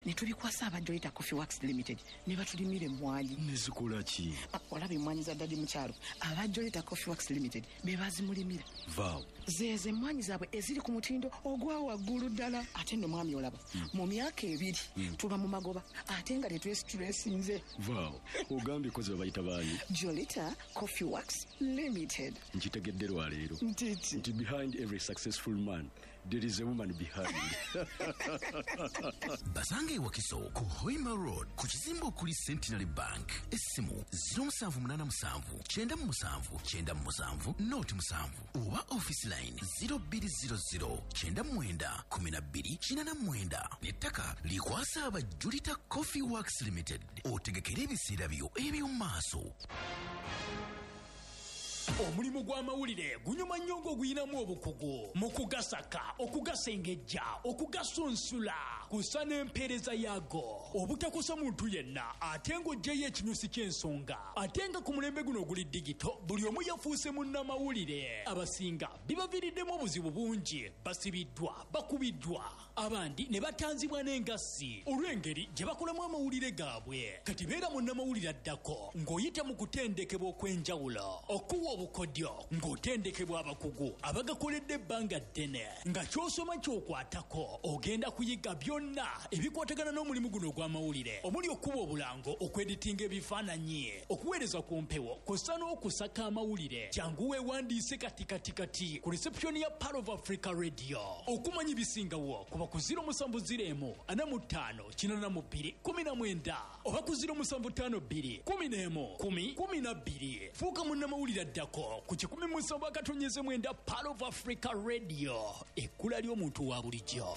Ne tubikwasa aba Jolita Coffee Works Limited ne batulimira emmwanyi. Ne zikola ki? Olaba emmwanyi za daddy mu kyalo, aba Jolita Coffee Works Limited be bazimulimira. Vaawo. Zeezo emmwanyi zaabwe eziri ku mutindo ogwa waggulu ddala. Ate nno mwami olaba, mu myaka 2 tuba mu magoba ate nga tetwesitulesinze. Vaawo. Ogambye kozi babayita baani? Jolita Coffee Works Limited. Nkitegedde lwaleero. Ntiti. Nti behind every successful man there is a woman behind. Basange e Wakiso ku Hoima Road ku kizimbe okuli Centenary Bank. Essimu 0787 97 97 07 oba office line 0200 99 12 89. N'ettaka likwasa aba Jolita Coffee Works Limited. Otegekere ebiseera byo eby'omu maaso. Omulimu gw'amawulire gunyuma nnyo ng'oguyinamu obukugu mu kugasaka, okugasengejja, okugasunsula, kusa n'empeereza yaago, obutakosa muntu yenna ate ng'oggyeyo ekinyusi ky'ensonga. Ate nga ku mulembe guno oguli digito, buli omu yafuuse munnamawulire. Abasinga bibaviiriddemu obuzibu bungi, basibiddwa, bakubiddwa, abandi ne batanzibwa n'engassi olw'engeri gye bakolamu amawulire gaabwe. Kati beera munnamawulire addako ng'oyita mu kutendekebwa okw'enjawulo, okuwa obukodyo ng'otendekebwa abakugu abagakoledde ebbanga ddene, nga ky'osoma ky'okwatako. Ogenda kuyiga byonna ebikwatagana n'omulimu guno ogw'amawulire, omuli okuba obulango, okweditinga ebifaananyi, okuweereza ku mpewo, kw'ossa n'okusaka amawulire. Jangu weewandiise kati kati kati ku reception ya Pearl of Africa Radio. Okumanya ebisingawo kuba ku 0701 45 82 19 oba ku 0752 11 10 12. Fuuka munnamawulire addako ku 107.9 Pearl of Africa Radio, ekkula ly'omuntu wa bulijjo.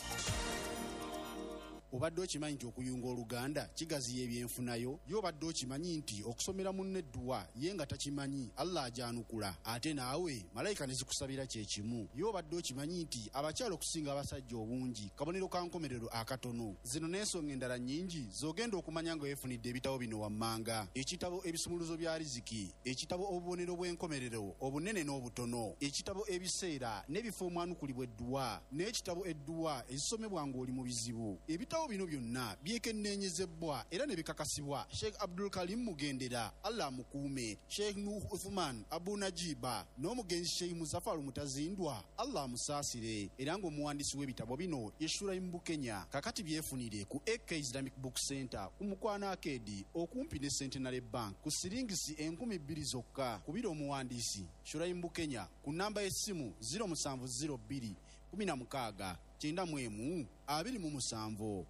Obadde okimanyi nti okuyunga oluganda kigaziya ebyenfunayo? Ye obadde okimanyi nti okusomera munno edduwa ye nga takimanyi Allah agyanukula ate naawe malayika ne zikusabira kye kimu? Ye obadde okimanyi nti abakyala okusinga abasajja obungi kabonero ka nkomerero akatono? Zino n'ensonga endala nnyingi z'ogenda okumanya nga weefunidde ebitabo bino wammanga. Ekitabo Ebisumuluzo bya Riziki, ekitabo Obubonero bw'enkomerero obunene n'obutono, ekitabo Ebiseera n'ebifo omwanukulibwa edduwa, n'ekitabo Edduwa ezisomebwa ng'oli mu bizibu. Ebitabo bino byonna byekenneenyezebbwa era ne bikakasibwa Sheikh Abdul Karim Mugendera, Allah amukuume, Sheikh Nuuh Uthuman Abu Najiba n'omugenzi Sheikh Muzafaru Mutazindwa, Allah amusaasire, era ng'omuwandiisi w'ebitabo bino ye Shuraim Bukenya. Kakati byefunire ku AK Islamic Book Centre ku Mukwano Arcade okumpi ne Centenary Bank ku siringisi 2000 zokka. Kubira omuwandiisi Shuraim Bukenya ku nnamba y'essimu 0702 16 91 27.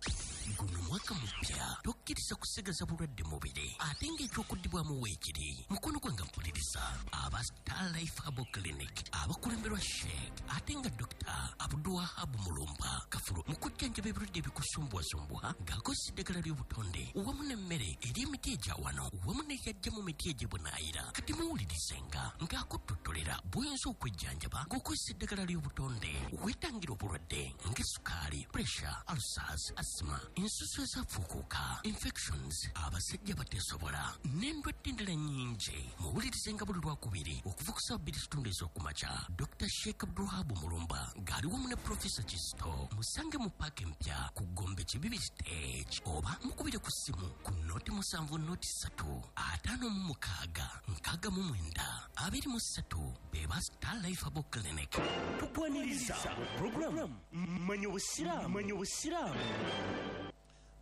Guno mwaka mupya, tokkiriza kusigaza bulwadde mubiri ate ng'ekyokuddibwamu weekiri. Mukono gwange mpuliriza aba Star Life Herbal Clinic abakulemberwa Sheikh ate nga Dr. Abdulwahab Mulumba Kafulu mu kujjanjaba ebirwadde ebikusumbuwasumbuwa ng'akozesa eddagala ly'obutonde wamu n'emmere eri emiti egya wano wamu n'eyajja mu miti egy'ebunaayira. Kati muwulirizenga ng'akuttotolera bw'oyinza okwejjanjaba ng'okozesa eddagala ly'obutonde weetangira obulwadde ng'esukaali, pressure, ulcers, asthma, ensusu ezafuukuuka, infections, abasajja bateesobola n'endwadde endala nnyingi. Muwulirizenga buli Lwakubiri okuva ku ssaawa 2:15 ez'okumakya. Dr. Sheikh Abdulwahab Mulumba ng'ali wamu ne Profesa Kisto musange mu paaka empya ku Gombe Kibibi Stage oba mukubire ku ssimu ku 07 03 56 69 23. Beba Star Life Herbal Clinic. Tukwaniriza program Manya Obusiraamu. Manya Obusiraamu.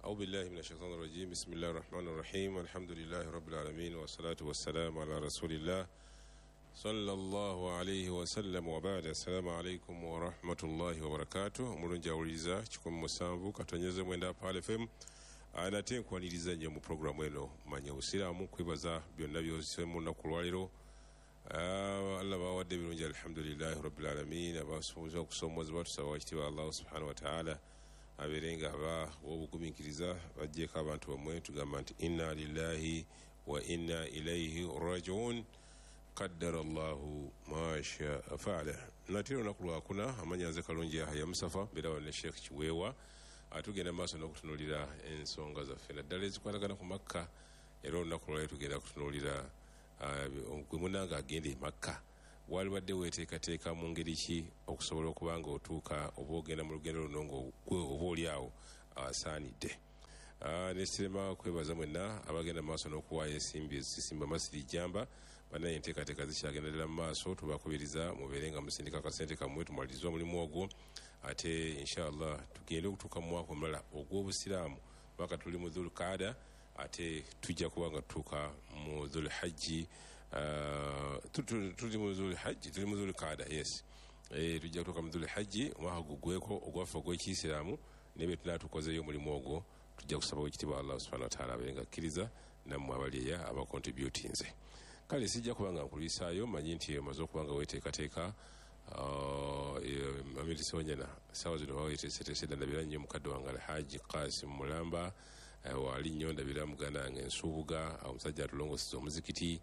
أعوذ بالله من الشيطان الرجيم. بسم الله الرحمن الرحيم. الحمد لله رب العالمين والصلاة والسلام على رسول الله صلى الله عليه وسلم وبعد. السلام عليكم ورحمة الله وبركاته. Omulungi awuliriza 107.9 Pearl FM, nate nkwaniriza nnyo mu puroguramu eno Manya Obusiraamu, kwebaza byonna by'ossemu olunaku lwaleero. Allah bawadde ebirungi, alhamdulillahi rabbil alamin. Abasoboza okusoomozebwa tusaba wakitiibwa Allah subhanahu wa ta'ala abeere nga aba obugumiikiriza bajjeeko abantu bamwe. Tugamba nti inna lillahi wa inna ilaihi rajiun, qaddara Allahu ma shaa faala. Nate olunaku lwakuna, amanya nze Kalungi Yahya Musafa, mbeera wano ne Sheikh Kiweewa. Tugenda maaso n'okutunuulira ensonga zaffe naddala ezikwatagana ku Makka. Era olunaku lwaleero tugenda kutunuulira gwe munnange agenda e Makka, walibadde weeteekateeka mu ngeri ki okusobola okuba nga otuuka oba ogenda mu lugendo luno ng'ogwe oba oli awo asaanidde. Nesirema kwebaza mwenna abagenda maaso n'okuwaayo ensimbi ezisimba masiri jamba. Banaye enteekateeka zikyagenda ddala mu maaso, tubakubiriza mubeere nga musindika akasente kammwe tumalirize omulimu ogwo, ate inshallah tugende okutuuka mu mwaka omulala ogw'obusiraamu paka tuli mu Dhulqaada, ate tujja kuba nga tutuuka mu Dhulhajji. Tuli mu Dhulhajji, tuli mu Dhulqaada, yes. Tujja kutuuka mu Dhulhajji omwaka gugweko ogwaffe ogw'ekiyisiraamu, naye bwe tunaba tukozeeyo omulimu ogwo tujja kusaba ekitiibwa Allah subhanahu wa ta'ala abeere nga akkiriza nammwe abali eya abakontributinze. Kale sijja kuba nga nkulwisaayo, manyi nti omaze okuba nga weeteekateeka. Amiri Sewanyana saawa zino baweeteeseteese dda, ndabira nnyo mukadde wange Alhaji Kasim Mulamba, waali nnyo, ndabira muganda wange Nsubuga, omusajja atulongoseza omuzikiti,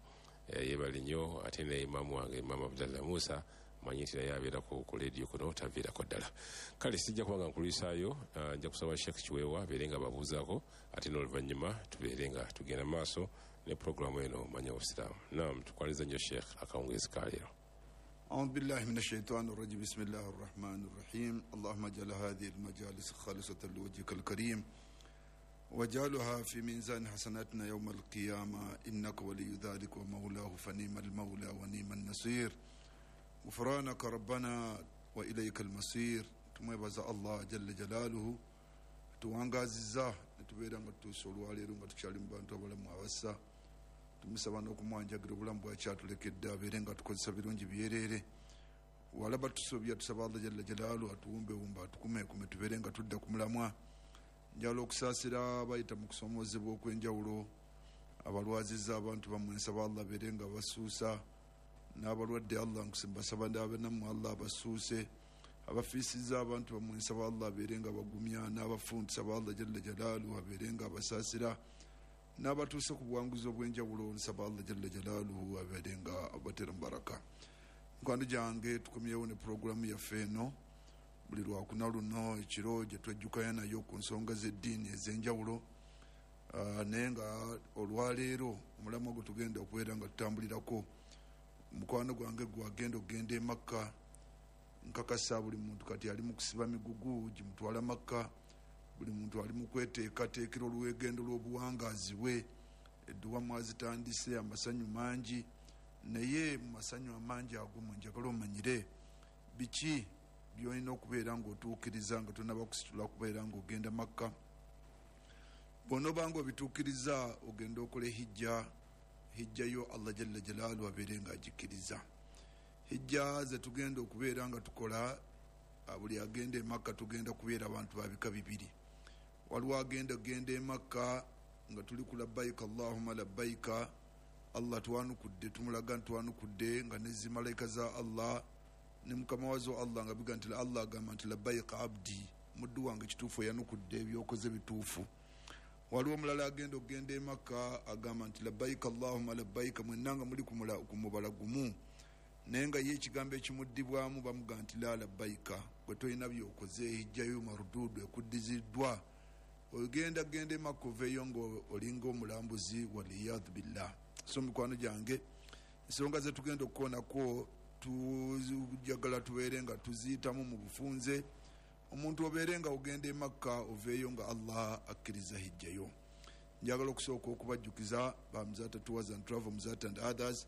yeebale nnyo, ate ne imaamu wange Imaam Abdallah Musa, manyi nti naye abeera ku leediyo kuno taviirako ddala. Kale sijja kuba nga nkulwisaayo, nja kusaba Sheikh Kiweewa abeere nga babuuzaako, ate n'oluvannyuma tubeere nga tugenda maaso ne pulogulaamu eno Manya Obusiraamu. Naam, tukwaniza nnyo Sheikh akawungeezi ka leero. أعوذ بالله من الشيطان الرجيم، بسم الله الرحمن الرحيم. اللهم اجعل هذه المجالس خالصة لوجهك الكريم واجعلها في ميزان حسناتنا يوم القيامة، إنك ولي ذلك ومولاه، فنعم المولى ونعم النصير. غفرانك ربنا وإليك المصير. Tumwebaza Allah jalla jalaaluhu tuwangaziza netubeera nga tutuusa olwaleero nga tukyali mu bantu abalamu abassa. Tumusaba n'okumwanjagira obulamu bwakyatulekedde abeere nga tukozesa birungi byereere. Walaba tusobya, tusaba Allah jalla jalaaluhu atuwumbewumbe atukumekume tubeere nga tudda ku mulamwa. Njagala okusaasira bayita mu kusomoozebwa okw'enjawulo, abalwaziza abantu bammwe, nsaba Allah abeere nga basuusa, n'abalwadde Allah mbasaba nammwe Allah abasuuse, abafiisizza abantu bammwe nsaba Allah abeere nga bagumya, n'abafu ntusaba Allah jalla jalaaluhu abeere nga abasaasira, n'abatuuse ku buwanguzi obw'enjawulo nsaba Allah jalla jalaaluhu abeere nga abatera mubaraka. Mikwano gyange, tukomyewo ne pulogulaamu yaffe eno buli lwakuna luno ekiro gye twejjukanya nayo ku nsonga z'eddiini ez'enjawulo. Naye nga olwaleero omulamwa gwe tugenda okubeera nga tutambulirako, mukwano gwange gwagenda okugenda e Makka. Nkakasa buli muntu kati ali mu kusiba migugu gimutwala Makka, buli muntu ali mu kweteekateekera olwegendo lw'obuwangaazi bwe. Edduwa mwazitandise, amasanyu mangi, naye mu masanyu amangi ago mwe njagala omanyire biki by'olina okubeera ng'otuukiriza nga tonnaba kusitula kubeera ng'ogenda Makka. Bw'onoba ng'obituukiriza ogenda okola hijja, hijja yo Allah jalla jalaaluhu abeere ng'agikkiriza. Hijja ze tugenda okubeera nga tukola, buli agenda e Makka tugenda kubeera abantu ba bika bibiri. Waliwo agenda genda e Makka nga tuli ku labbaika Allahumma labbaika, Allah twanukudde, tumulaga ntwanukudde nga ne zimalayika za Allah ne mukama wazo Allah nga biga nti Allah agamba nti labbaika abdi, muddu wange kituufu eyanukudde ebyokoze bituufu. Waliwo omulala agenda okugenda e Makka agamba nti labbaika Allahumma labbaika, mwenna nga muli ku mubala gumu, naye nga ye ekigambo ekimuddibwamu bamuga nti la labbaika, gwe tolina byokoze, hijjayo marududu ekuddiziddwa, ogenda genda e Makka oveeyo nga olinga omulambuzi, waliyadhu billah. So mikwano gyange, ensonga ze tugenda okukoonako tujagala tubeere nga tuziyitamu mu bufunze, omuntu obeere nga ogenda e Makka oveeyo nga Allah akkiriza hijjayo. Njagala okusooka okubajjukiza ba Muzata Tours and Travel, Muzata and others.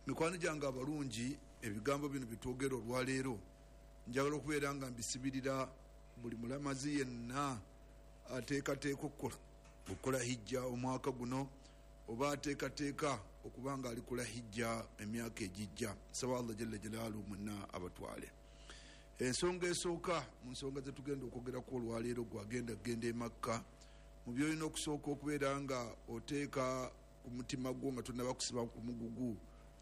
Mikwano gyange abalungi, ebigambo bino byetwogera olwaleero njagala okubeera nga mbisibirira buli mulamazi yenna ateekateeka okukola hijja omwaka guno, oba ateekateeka okuba nga alikola hijja emyaka egijja. Nsaba Allah jalla jalaaluhu mwenna abatwale. Ensonga esooka mu nsonga ze tugenda okwogerako olwaleero, gwagenda kugenda e Makka, mu byolina okusooka okubeera nga oteeka ku mutima gwo nga tonnaba kusiba ku mugugu,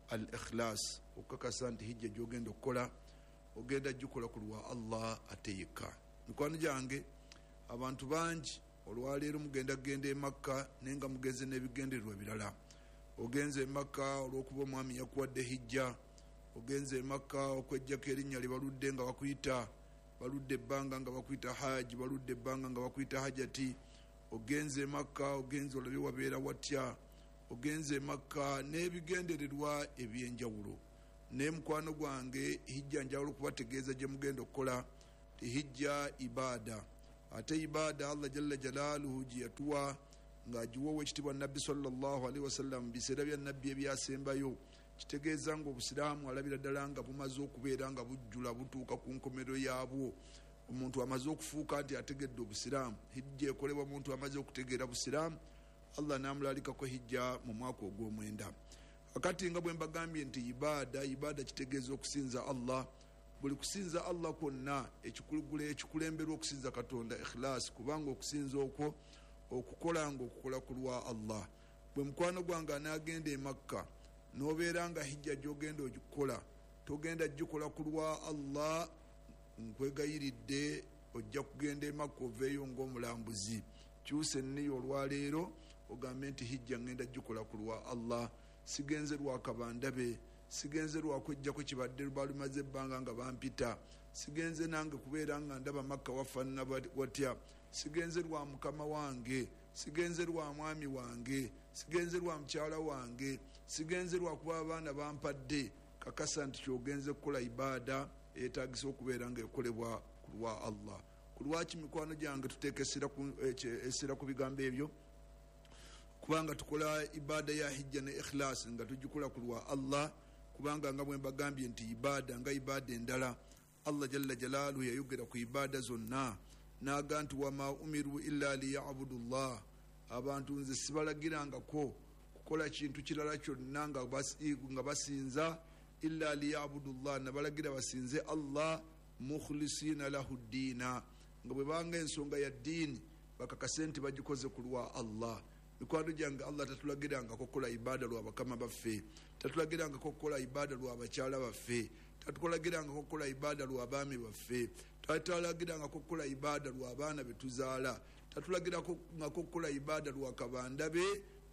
al ikhlas, okukakasa nti hijja gy'ogenda okukola ogenda gikola ku lwa Allah ate yekka. Mikwano gyange, abantu bangi olwaleero mugenda kugenda e Makka naye nga mugenze n'ebigendererwa birala. Ogenze e Makka olw'okuba omwami yakuwadde hijja, ogenze e Makka okwejjako erinnya lye baludde nga bakuyita, baludde ebbanga nga bakuyita haji, baludde ebbanga nga bakuyita hajati. Ogenze e Makka, ogenze olabye wabeera watya, ogenze e Makka n'ebigendererwa ebyenjawulo. Naye mukwano gwange, hijja njagala okubategeeza gye mugenda okukola ti hijja ibaada. Ate ibaada Allah jalla jalaaluhu gye yatuwa ng'agiwa owekitiibwa Nabbi sallallahu alaihi wasallam mu biseera bya Nabbi ebyasembayo, kitegeeza ng'obusiraamu alabira ddala nga bumaze okubeera nga bujjula, butuuka ku nkomerero yaabwo. Omuntu amaze okufuuka nti ategedde obusiraamu. Hijja ekolebwa omuntu amaze okutegeera busiraamu, Allah n'amulalikako hijja mu mwaka ogw'omwenda. Kakati nga bwe mbagambye nti ibaada kitegeeza okusinza Allah. Buli kusinza Allah kwonna ekikulemberwa okusinza Katonda ikhlas, kubanga okusinza okwo okukola ng'okukola ku lwa Allah. Bwe mukwano gwange anaagenda e Makka n'obeera nga hijja gy'ogenda ogikola togenda gikola ku lwa Allah, nkwegayiridde ojja kugenda e Makka oveeyo ng'omulambuzi. Kyusa enniya olwaleero ogambe nti hijja ngenda gikola ku lwa Allah, sigenze lwa kabandabe, sigenze lwakwejjako kibadde balumaze ebbanga nga bampita, sigenze nange kubeera nga ndaba Makka wafaanana watya, sigenze lwa mukama wange, sigenze lwa mwami wange, sigenze lwa mukyala wange, sigenze lwakuba abaana bampadde. Kakasa nti kyogenze kukola ibaada eyetaagisa okubeera ng'ekolebwa ku lwa Allah. Ku lwaki mikwano gyange tuteeka essira ku bigambo ebyo? Kubanga tukola ibaada ya hijja ne ikhlas nga tugikola ku lwa Allah, kubanga nga bwe mbagambye nti ibaada nga ibaada endala, Allah jalla jalaaluhu yayogera ku ibaada zonna n'aga nti wama umiru illa liyabudu llah, abantu nze sibalagirangako kukola kintu kirala kyonna nga basinza illa liyabudu llah, nabalagira basinze Allah mukhlisina lahu ddiina, nga bwe banga ensonga ya ddiini bakakase nti bagikoze ku lwa Allah. Mikwano gyange, Allah tatulagirangako kukola ibaada lwa bakama baffe, tatulagirangako kukola ibaada lwa bakyala baffe, tatulagirangako kukola ibaada lwa baami baffe, tatulagirangako kukola ibaada lwa baana betuzaala, tatulagirangako kukola ibaada lwa kabandabe,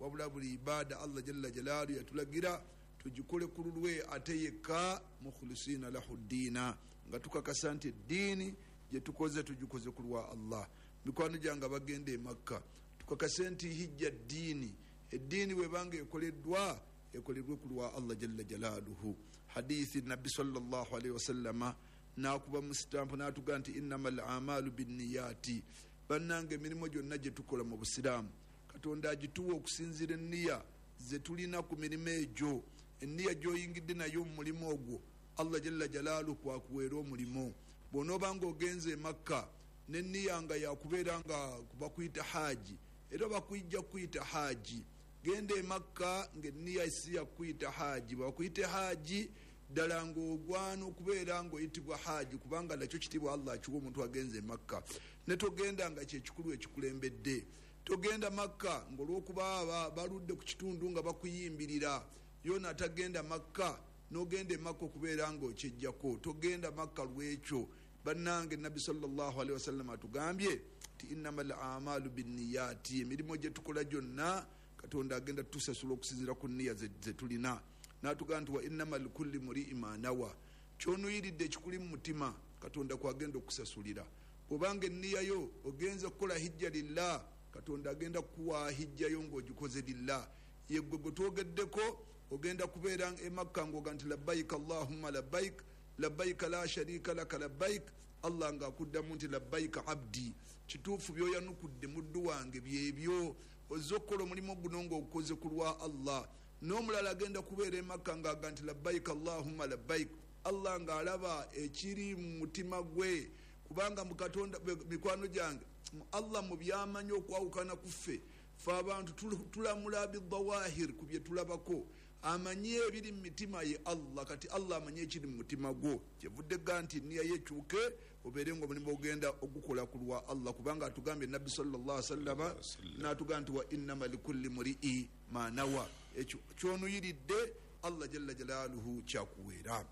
wabula buli ibaada Allah jalla jalaalu yatulagira tugikole ku lulwe ate yekka, mukhlisina lahu ddiina, nga tukakasa nti eddiini gye tukoze tugikoze ku lwa Allah. Mikwano gyange bagenda e Makka, tukakase nti hijja ddiini, eddiini bwebanga ekoleddwa ekolerwe ku lwa Allah jalla jalaaluhu. Hadithi Nabbi sallallahu alaihi wasallama n'akuba mu sitampu n'atuga nti innama al amalu binniyati, bannanga emirimu gyonna gye tukola mu busiraamu Katonda agituwa okusinziira enniya ze tulina ku mirimu egyo. Enniya gy'oyingidde nayo mu mulimu ogwo Allah jalla jalaaluhu kwakuweera omulimu. Bw'onoobanga ogenze e Makka n'enniya nga yakubeera nga bakuyita haaji, era bakuyijja kuyita haaji, genda e Makka ng'enniya si yakuyita haaji, bakuyite haaji ddala ng'ogwana okubeera ng'oyitibwa haaji, kubanga nakyo kitiibwa Allah akiwa omuntu agenze e Makka. Ne togenda nga kyekikulu ekikulembedde, togenda Makka ng'olw'okuba baludde ku kitundu nga bakuyimbirira. Yona atagenda Makka n'ogenda e Makka okubeera ng'okyejjako, togenda Makka lwekyo. Bannange, Nabbi sallallahu alaihi wasallam atugambye nti innama al amalu binniyati, emirimu gye tukola gyonna Katonda agenda tusasula okusinziira ku nniya ze tulina. N'atugamba nti wa innama likulli muri'in ma nawa, kyonuyiridde ekikuli mu mutima Katonda kwagenda okusasulira. Bw'obanga enniya yo ogenze kukola hijja lillah, Katonda agenda kukuwa hijja yo ng'ogikoze lillah. Yeggwe gwe twogeddeko ogenda kubeera e Makka ng'oga nti labbaik allahumma labbaik, labbaik la sharika laka labbaik, Allah ng'akuddamu nti labbaik abdi, kituufu by'oyanukudde muddu wange byebyo, ozze okukola omulimu guno ng'ogukoze ku lwa Allah. N'omulala agenda kubeera e Makka ng'aga nti labbaik allahumma labbaik, Allah ng'alaba ekiri mu mutima gwe, kubanga mu Katonda, mikwano gyange, Allah mu byamanyi okwawukana ku ffe, ffe abantu tulamula bidawahir, ku bye tulabako, amanyi ebiri mu mitima ye Allah. Kati Allah amanyi ekiri mu mutima gwo, kyevudde ga nti nniya ye ekyuke obeere ng'omulimu ogenda ogukola ku lwa Allah, kubanga atugambye Nabbi sallallahu alaihi wasallama n'atugamba nti wa innama likulli muri'i ma nawa, ekyo kyonuyiridde Allah jalla jalaaluhu kyakuweera.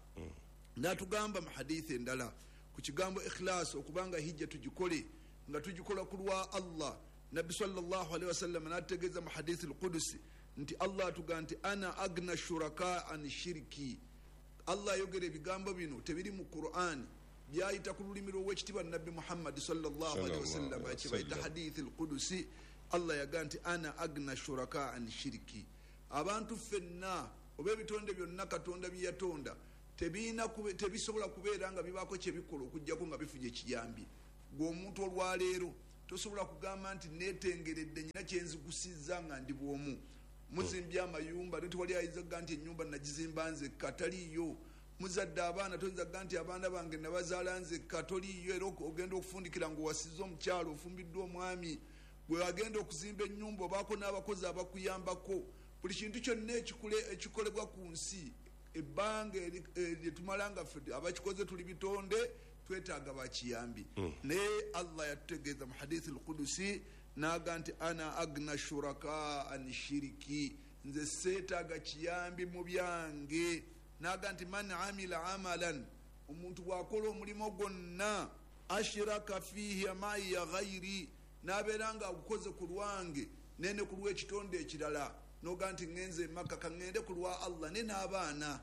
N'atugamba mu hadithi endala ku kigambo ikhlas, okubanga hijja tugikole nga tugikola ku lwa Allah. Nabbi sallallahu alaihi wasallam n'ategeeza mu hadithi al-Qudusi nti Allah atugamba nti ana agna shuraka an shiriki. Allah ayogera ebigambo bino tebiri mu Qur'an, byayita ku lulimi lw'owekitiibwa Nabbi Muhammad sallallahu alaihi wasallam, kibayita hadithi al-Qudusi. Allah yaga nti ana agna shuraka an shiriki, abantu ffenna oba ebitonde byonna Katonda bye yatonda tebisobola kubeera nga bibaako kyebikola okuggyako nga bifunye ekiyambi. Gwe omuntu olwaleero tosobola kugamba nti netengeredde nyina kyenzigusizza nga ndi bwomu. Muzimbye amayumba, tewali ayinza kuga nti ennyumba nagizimba nzekka, taliiyo. Muzadde abaana, toyinza kuga nti abaana bange nabazaala nzekka, toliiyo. Era ogenda okufundikira ng'owasizza omukyalo, ofumbiddwa omwami, gwe agenda okuzimba ennyumba obaako n'abakozi abakuyambako. Buli kintu kyonna ekikolebwa ku nsi, ebbanga lyetumala nga ffe abakikoze tuli bitonde, twetaaga bakiyambi. Naye Allah yatutegeeza mu hadithi al-Qudusi naga nti ana agna shuraka an shiriki, nze seetaaga kiyambi mu byange. Naga nti man amila amalan, omuntu bw'akola omulimu gwonna, ashiraka fiihi maiya ghairi, n'abeera nga agukoze ku lwange nene ku lw'ekitonde ekirala. Noga nti ŋŋenze Emaka, ka ŋŋende ku lwa Allah ne n'abaana,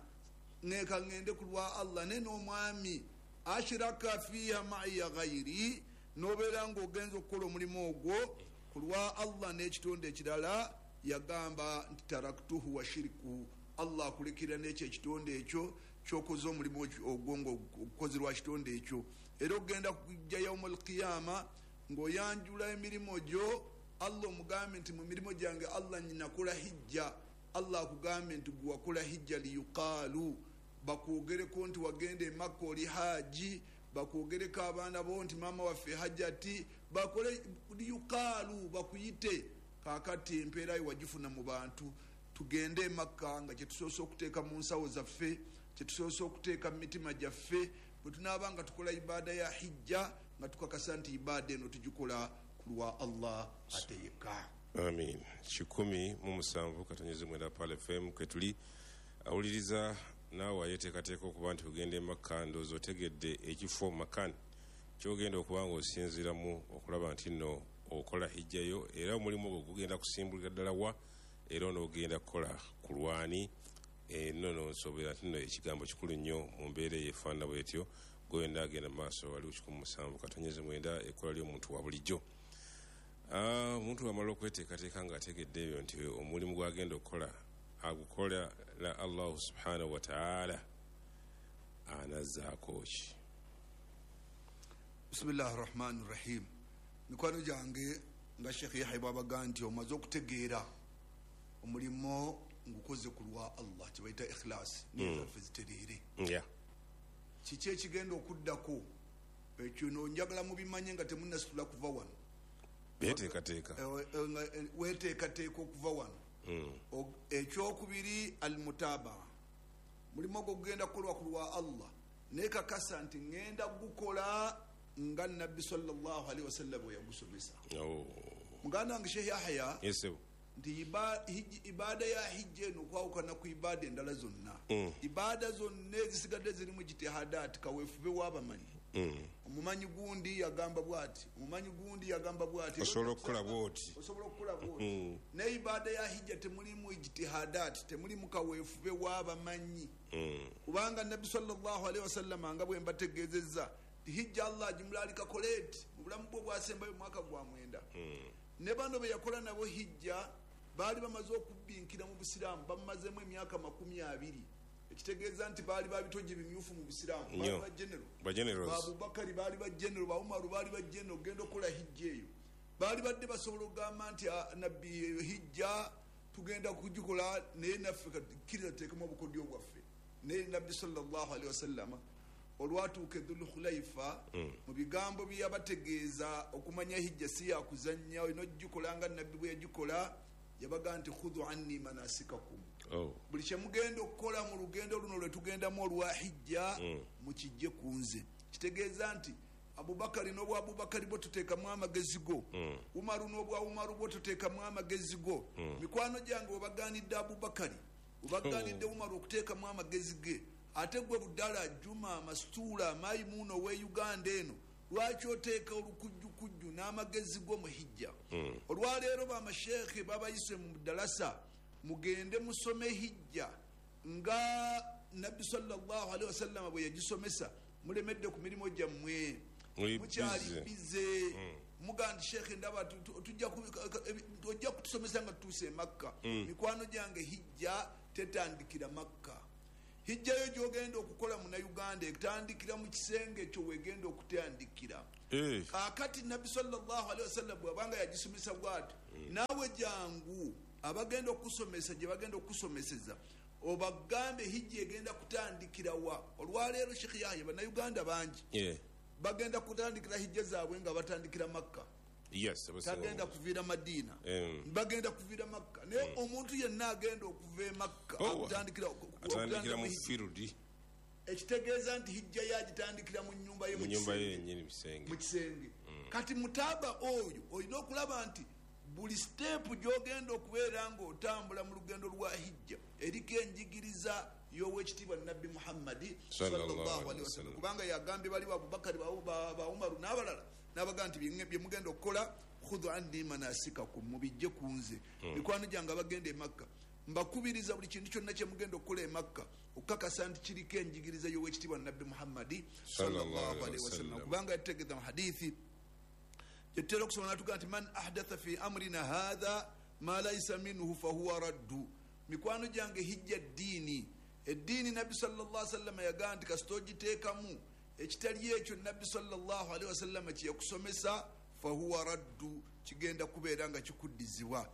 ka ŋŋende ku lwa Allah ne n'omwami. Ashiraka fiiha maiya ghairi, n'obeera ng'ogenza okukola omulimu ogwo ku lwa Allah n'ekitonde ekirala, yagamba nti taraktuhu wa shirikuhu, Allah akulekera n'ekyo ekitonde ekyo kyokoze omulimu ogwo ng'ogukoze lwa kitonde ekyo. Era ogenda kujja yauma alqiyama ng'oyanjula emirimu gyo, Allah omugambe nti mu mirimu gyange Allah nyinakola hijja. Allah akugambe nti gwe wakola hijja liyuqaalu, bakwogereko nti wagenda Emakka oli haji, bakwogereko abaana bo nti maama waffe hajjati, bakole liyuqaalu, bakuyite. Kaakati empeera yo wagifuna mu bantu. Tugende Emakka nga kyetusoose okuteeka mu nsawo zaffe, kyetusoose okuteeka mu mitima gyaffe, bwe tunaaba nga tukola ibaada ya hijja nga tukakasa nti ibaada eno tugikola ku lwa Allah ate yekka. Amin. 107.9 Pearl FM kwetuli. Awuliriza naawe ayeteekateeka okuba nti ogenda Emakka, ndowooza otegedde ekifo makan kyogenda okuba nga osinziiramu okulaba nti nno okola hijjayo, era omulimu ogwo gugenda kusimbulira ddala wa, era onoogenda kukola ku lwani. Nno nsoobera nti nno ekigambo kikulu nnyo mu mbeera eyo efaanana bwetyo. Gwenda agenda mu maaso waliwo 107.9 ekkola ly'omuntu wa bulijjo. Omuntu bw'amala okweteekateeka ng'ategedde ebyo nti omulimu gw'agenda okukola agukola la Allahu subhanahu wa ta'ala, anazzaako ki? Bismillahi rahmani rahim. Mikwano gyange, nga Sheekh Yahya bwabaga nti omaze okutegeera omulimu ngukoze ku lwa Allah, kyebayita ikhlas, nizaffe zitereere. Kiki ekigenda okuddako ekyo no njagala mubimanye nga temunnasitula kuva wano. Beteekateeka. Weteekateeka okuva wano. Ekyokubiri almutabaa, mulimu ogwo gugenda kukolwa ku lwa Allah, naye kakasa nti ŋŋenda gukola nga Nabbi sallallahu alaihi wasallam bwe yagusomesa. Muganda wange Sheikh Yahya, nti ibaada ya hijja eno okwawukana ku ibaada endala zonna, ibaada zonna ezisigadde zirimu jitihadaati, kaweefube w'abamanyi. Omumanyi gundi yagamba bwati, omumanyi gundi yagamba bwati, osobola okukola bwoti, osobola okukola bwoti. Naye ibaada ya hijja temulimu ijtihadaati, temulimu kaweefube w'abamanyi. Kubanga Nabbi sallallahu alaihi wasallama nga bwe mbategeezezza hijja Allah agimulaalika koleeti mu bulamu bwe obwasembayo mwaka gwa 9. Ne bano be yakola nabo hijja baali bamaze okubbinkira mu busiraamu, bamazemu emyaka 20, ekitegeeza nti baali babitogi bimyufu mu busiraamu, baali ba general, ba Abubakari baali ba general, ba Umaru baali ba general. Ogenda okukola hijja eyo baali badde basobola okugamba nti Nabbi hijja tugenda kugikola, naye naffe kkiriza tuteekemu obukodyo bwaffe. Naye Nabbi sallallahu alaihi wasallama olwatuuka Dhul Khulaifa, mu bigambo bye yabategeeza okumanya hijja si yakuzannya, olina ogikola nga Nabbi bwe yagikola, yabaga nti khudhu anni manasikakum. Buli kyemugenda okukola mu lugendo luno lwe tugendamu olwa hijja, mukijje ku nze. Kitegeeza nti Abubakari n'obwa Abubakari bwo tuteekamu amagezi go, Umaru n'obwa Umaru bwo tuteekamu amagezi go. Mikwano gyange webaganidde Abubakari, webaganidde Umaru okuteekamu amagezi ge, ate gwe Budala, Juma, Masituula, Mayimuuna owe Uganda eno, lwaki oteeka olukujjukujju n'amagezi go mu hijja? Olwaleero bamasheekhe babayise mu dalasa, mugende musome hijja nga Nabbi sallallahu alaihi wasallama bwe yagisomesa. Mulemedde ku mirimu gyammwe, mukyali bize, muga nti sheekhe ndaba ojja kutusomesa nga tutuuse e Makka. Mikwano gyange, hijja tetandikira Makka. Hijjayo gy'ogenda okukola Munnayuganda etandikira mu kisenge ekyo wegenda okutandikira. Kaakati Nabbi sallallahu alaihi wasallam bw'abanga yagisomesa bw'ati, naawe jangu abagenda okusomesa gye bagenda okusomeseza obagambe hijja egenda kutandikira wa. Olwaleero Sheikh Yahya, Bannayuganda bangi bagenda kutandikira hijja zaabwe nga batandikira Makka. Tagenda kuviira Madiina, bagenda kuviira Makka. Naye omuntu yenna agenda okuva e Makka atandikira mu firudi, ekitegeeza nti hijja yagitandikira mu nnyumba ye, mu kisenge. Kati mutaaba oyo olina okulaba nti buli siteepu gy'ogenda okubeera ng'otambula mu lugendo lwa hijja eriko enjigiriza y'owekitiibwa Nabbi Muhammadi sallallahu alaihi wasallam, kubanga yagambye bali ba Abubakari, ba Umaru n'abalala, n'abagamba nti bye mugenda okukola khudhu anni manasikakum, mubijje ku nze. Mikwano gyange abagenda e Makka, mbakubiriza buli kintu kyonna kye mugenda okukola e Makka okukakasa nti kiriko enjigiriza y'owekitiibwa Nabbi Muhammadi sallallahu alaihi wasallam, kubanga yategeeza mu hadithi gyetutera okusoma natugaa nti man ahdatha fi amrina hatha ma laisa minhu fahuwa raddu. Mikwano gyange, hijja ddiini, eddiini Nabbi sallallahu alaihi wasallam yagamba nti kasita ogiteekamu ekitali ekyo Nabbi sallallahu alaihi wasallam kye yakusomesa fahuwa raddu, kigenda kubeera nga kikuddizibwa.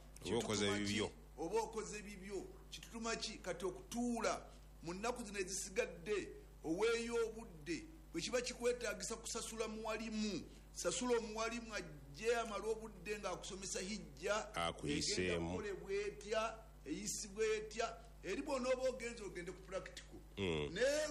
Oba okoze bibyo. Kitutuma ki? Kati okutuula mu nnaku zino ezisigadde oweeyo obudde, bwe kiba kikwetaagisa kusasula muwalimu, sasula omuwalimu ajje amale obudde ng'akusomesa hijja egenda kukolebwa etya, eyisibwa etya. Eri bw'onooba ogenze ogende ku practical. Naye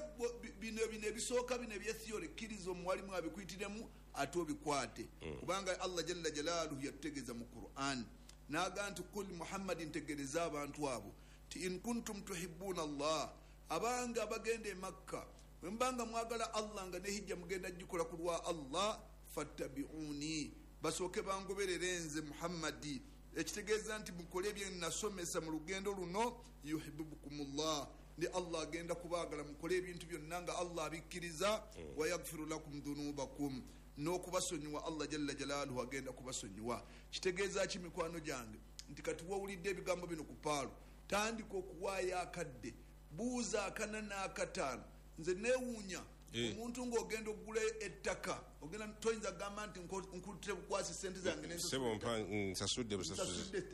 bino ebisooka bino ebya theory, kkiriza omuwalimu abikuyitiremu ate obikwate, kubanga Allah jalla jalaaluhu yatutegeeza mu Quran n'agamba nti kul Muhammadi, ntegereza abantu abo ti in kuntum tuhibbuna Allah, abanga abagenda e Makka bwe mubanga mwagala Allah nga ne hijja mugenda gikola ku lwa Allah, fattabi'uni, basooke bangoberere nze Muhammadi. Ekitegeeza nti mukole bye nasomesa mu lugendo luno, yuhibbukumullah, ndi Allah agenda kubaagala, mukole ebintu byonna nga Allah abikkiriza, wa yaghfiru lakum dhunubakum, n'okubasonyiwa Allah jalla jalaaluhu agenda kubasonyiwa. Kitegeeza ki mikwano gyange nti kati wawulidde ebigambo bino ku paalo, tandika okuwaayo akadde, buuza 4 na 5. Nze neewuunya omuntu ng'ogenda okugula ettaka, ogenda toyinza kugamba nti nkutte bukwasi sente zange nsasudde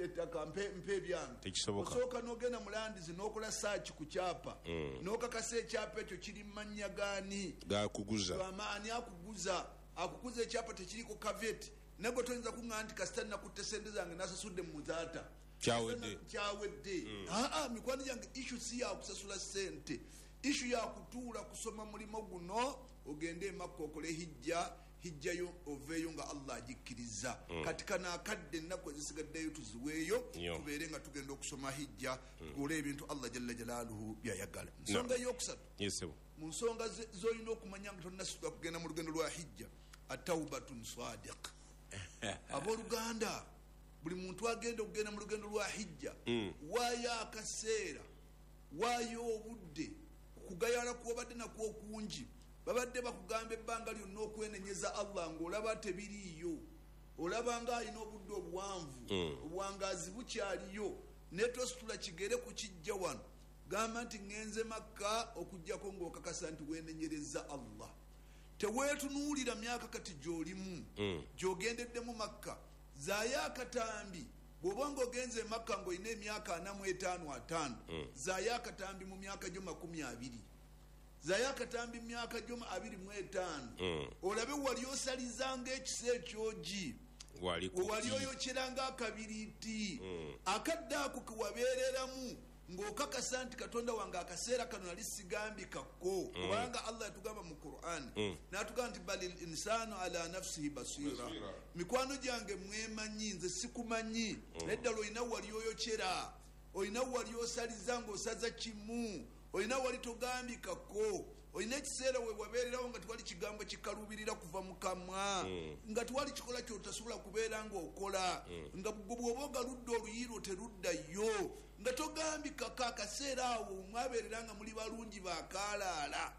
ettaka mpe ebyange. Osooka n'ogenda mu landizi n'okola saaki ku kyapa, n'okakasa ekyapa ekyo kiri mu mannya gaani gakuguza, ani akuguza, akuguza ekyapa tekiriko kaveti. Naye gwe toyinza kuŋŋamba nti kasita nakutte sente zange nasasudde mu muzaata kyawedde. Aa, mikwano gyange, issue si yakusasula sente, issue yakutuula kusoma mulimo guno, ogende e Makka okole hijja, hijjayo oveeyo nga Allah agikkiriza. Kati kano akadde ennaku ezisigaddeyo tuziweeyo, tubeere nga tugenda okusoma hijja, tukole ebintu Allah jalla jalaaluhu byayagala. Nsonga eyokusatu mu nsonga z'olina okumanya nga tonnasituka kugenda mu lugendo lwa hijja, atawbatun sadiq. Abooluganda, buli muntu agenda okugenda mu lugendo lwa hijja, waayo akaseera, waayo obudde, kugayala kwobadde nakwo okungi. Babadde bakugamba ebbanga lyonna okwenenyeza Allah ng'olaba tebiriiyo, olaba nga alina obudde obuwanvu, obuwangaazi bukyaliyo, naye tositula kigere ku kijja wano gamba nti ŋŋenze Makka okuggyako ng'okakasa nti weenenyereza Allah. Teweetunuulira myaka kati gy'olimu gy'ogendeddemu Makka, zaayo akatambi. Bw'oba ng'ogenze e Makka ng'olina emyaka 45 50, zaayo akatambi mu myaka gyo 20, zaayo akatambi mu myaka gyo 25, olabe wali osalizanga ekisa ekyogi, wali oyokyeranga akabiriiti, akadde ako kewabeereramu ng'okakasa nti Katonda wange akaseera kano nali sigambikako. Kubanga Allah yatugamba mu Quran n'atugamba nti balil insanu ala nafsihi basira. Mikwano gyange mwemanyi, nze sikumanyi, naye ddala olina wali oyokyera, olina wali osaliza ng'osaza kimu, olina wali togambikako, olina ekiseera we wabeererawo nga tewali kigambo kikaluubirira kuva mu kamwa, nga tewali kikola kyotasobola kubeera ng'okola, nga bw'oba ogaludde oluyiro teruddayo, nga togambikako. Akaseera awo mwabeerera nga muli balungi bakaalaala.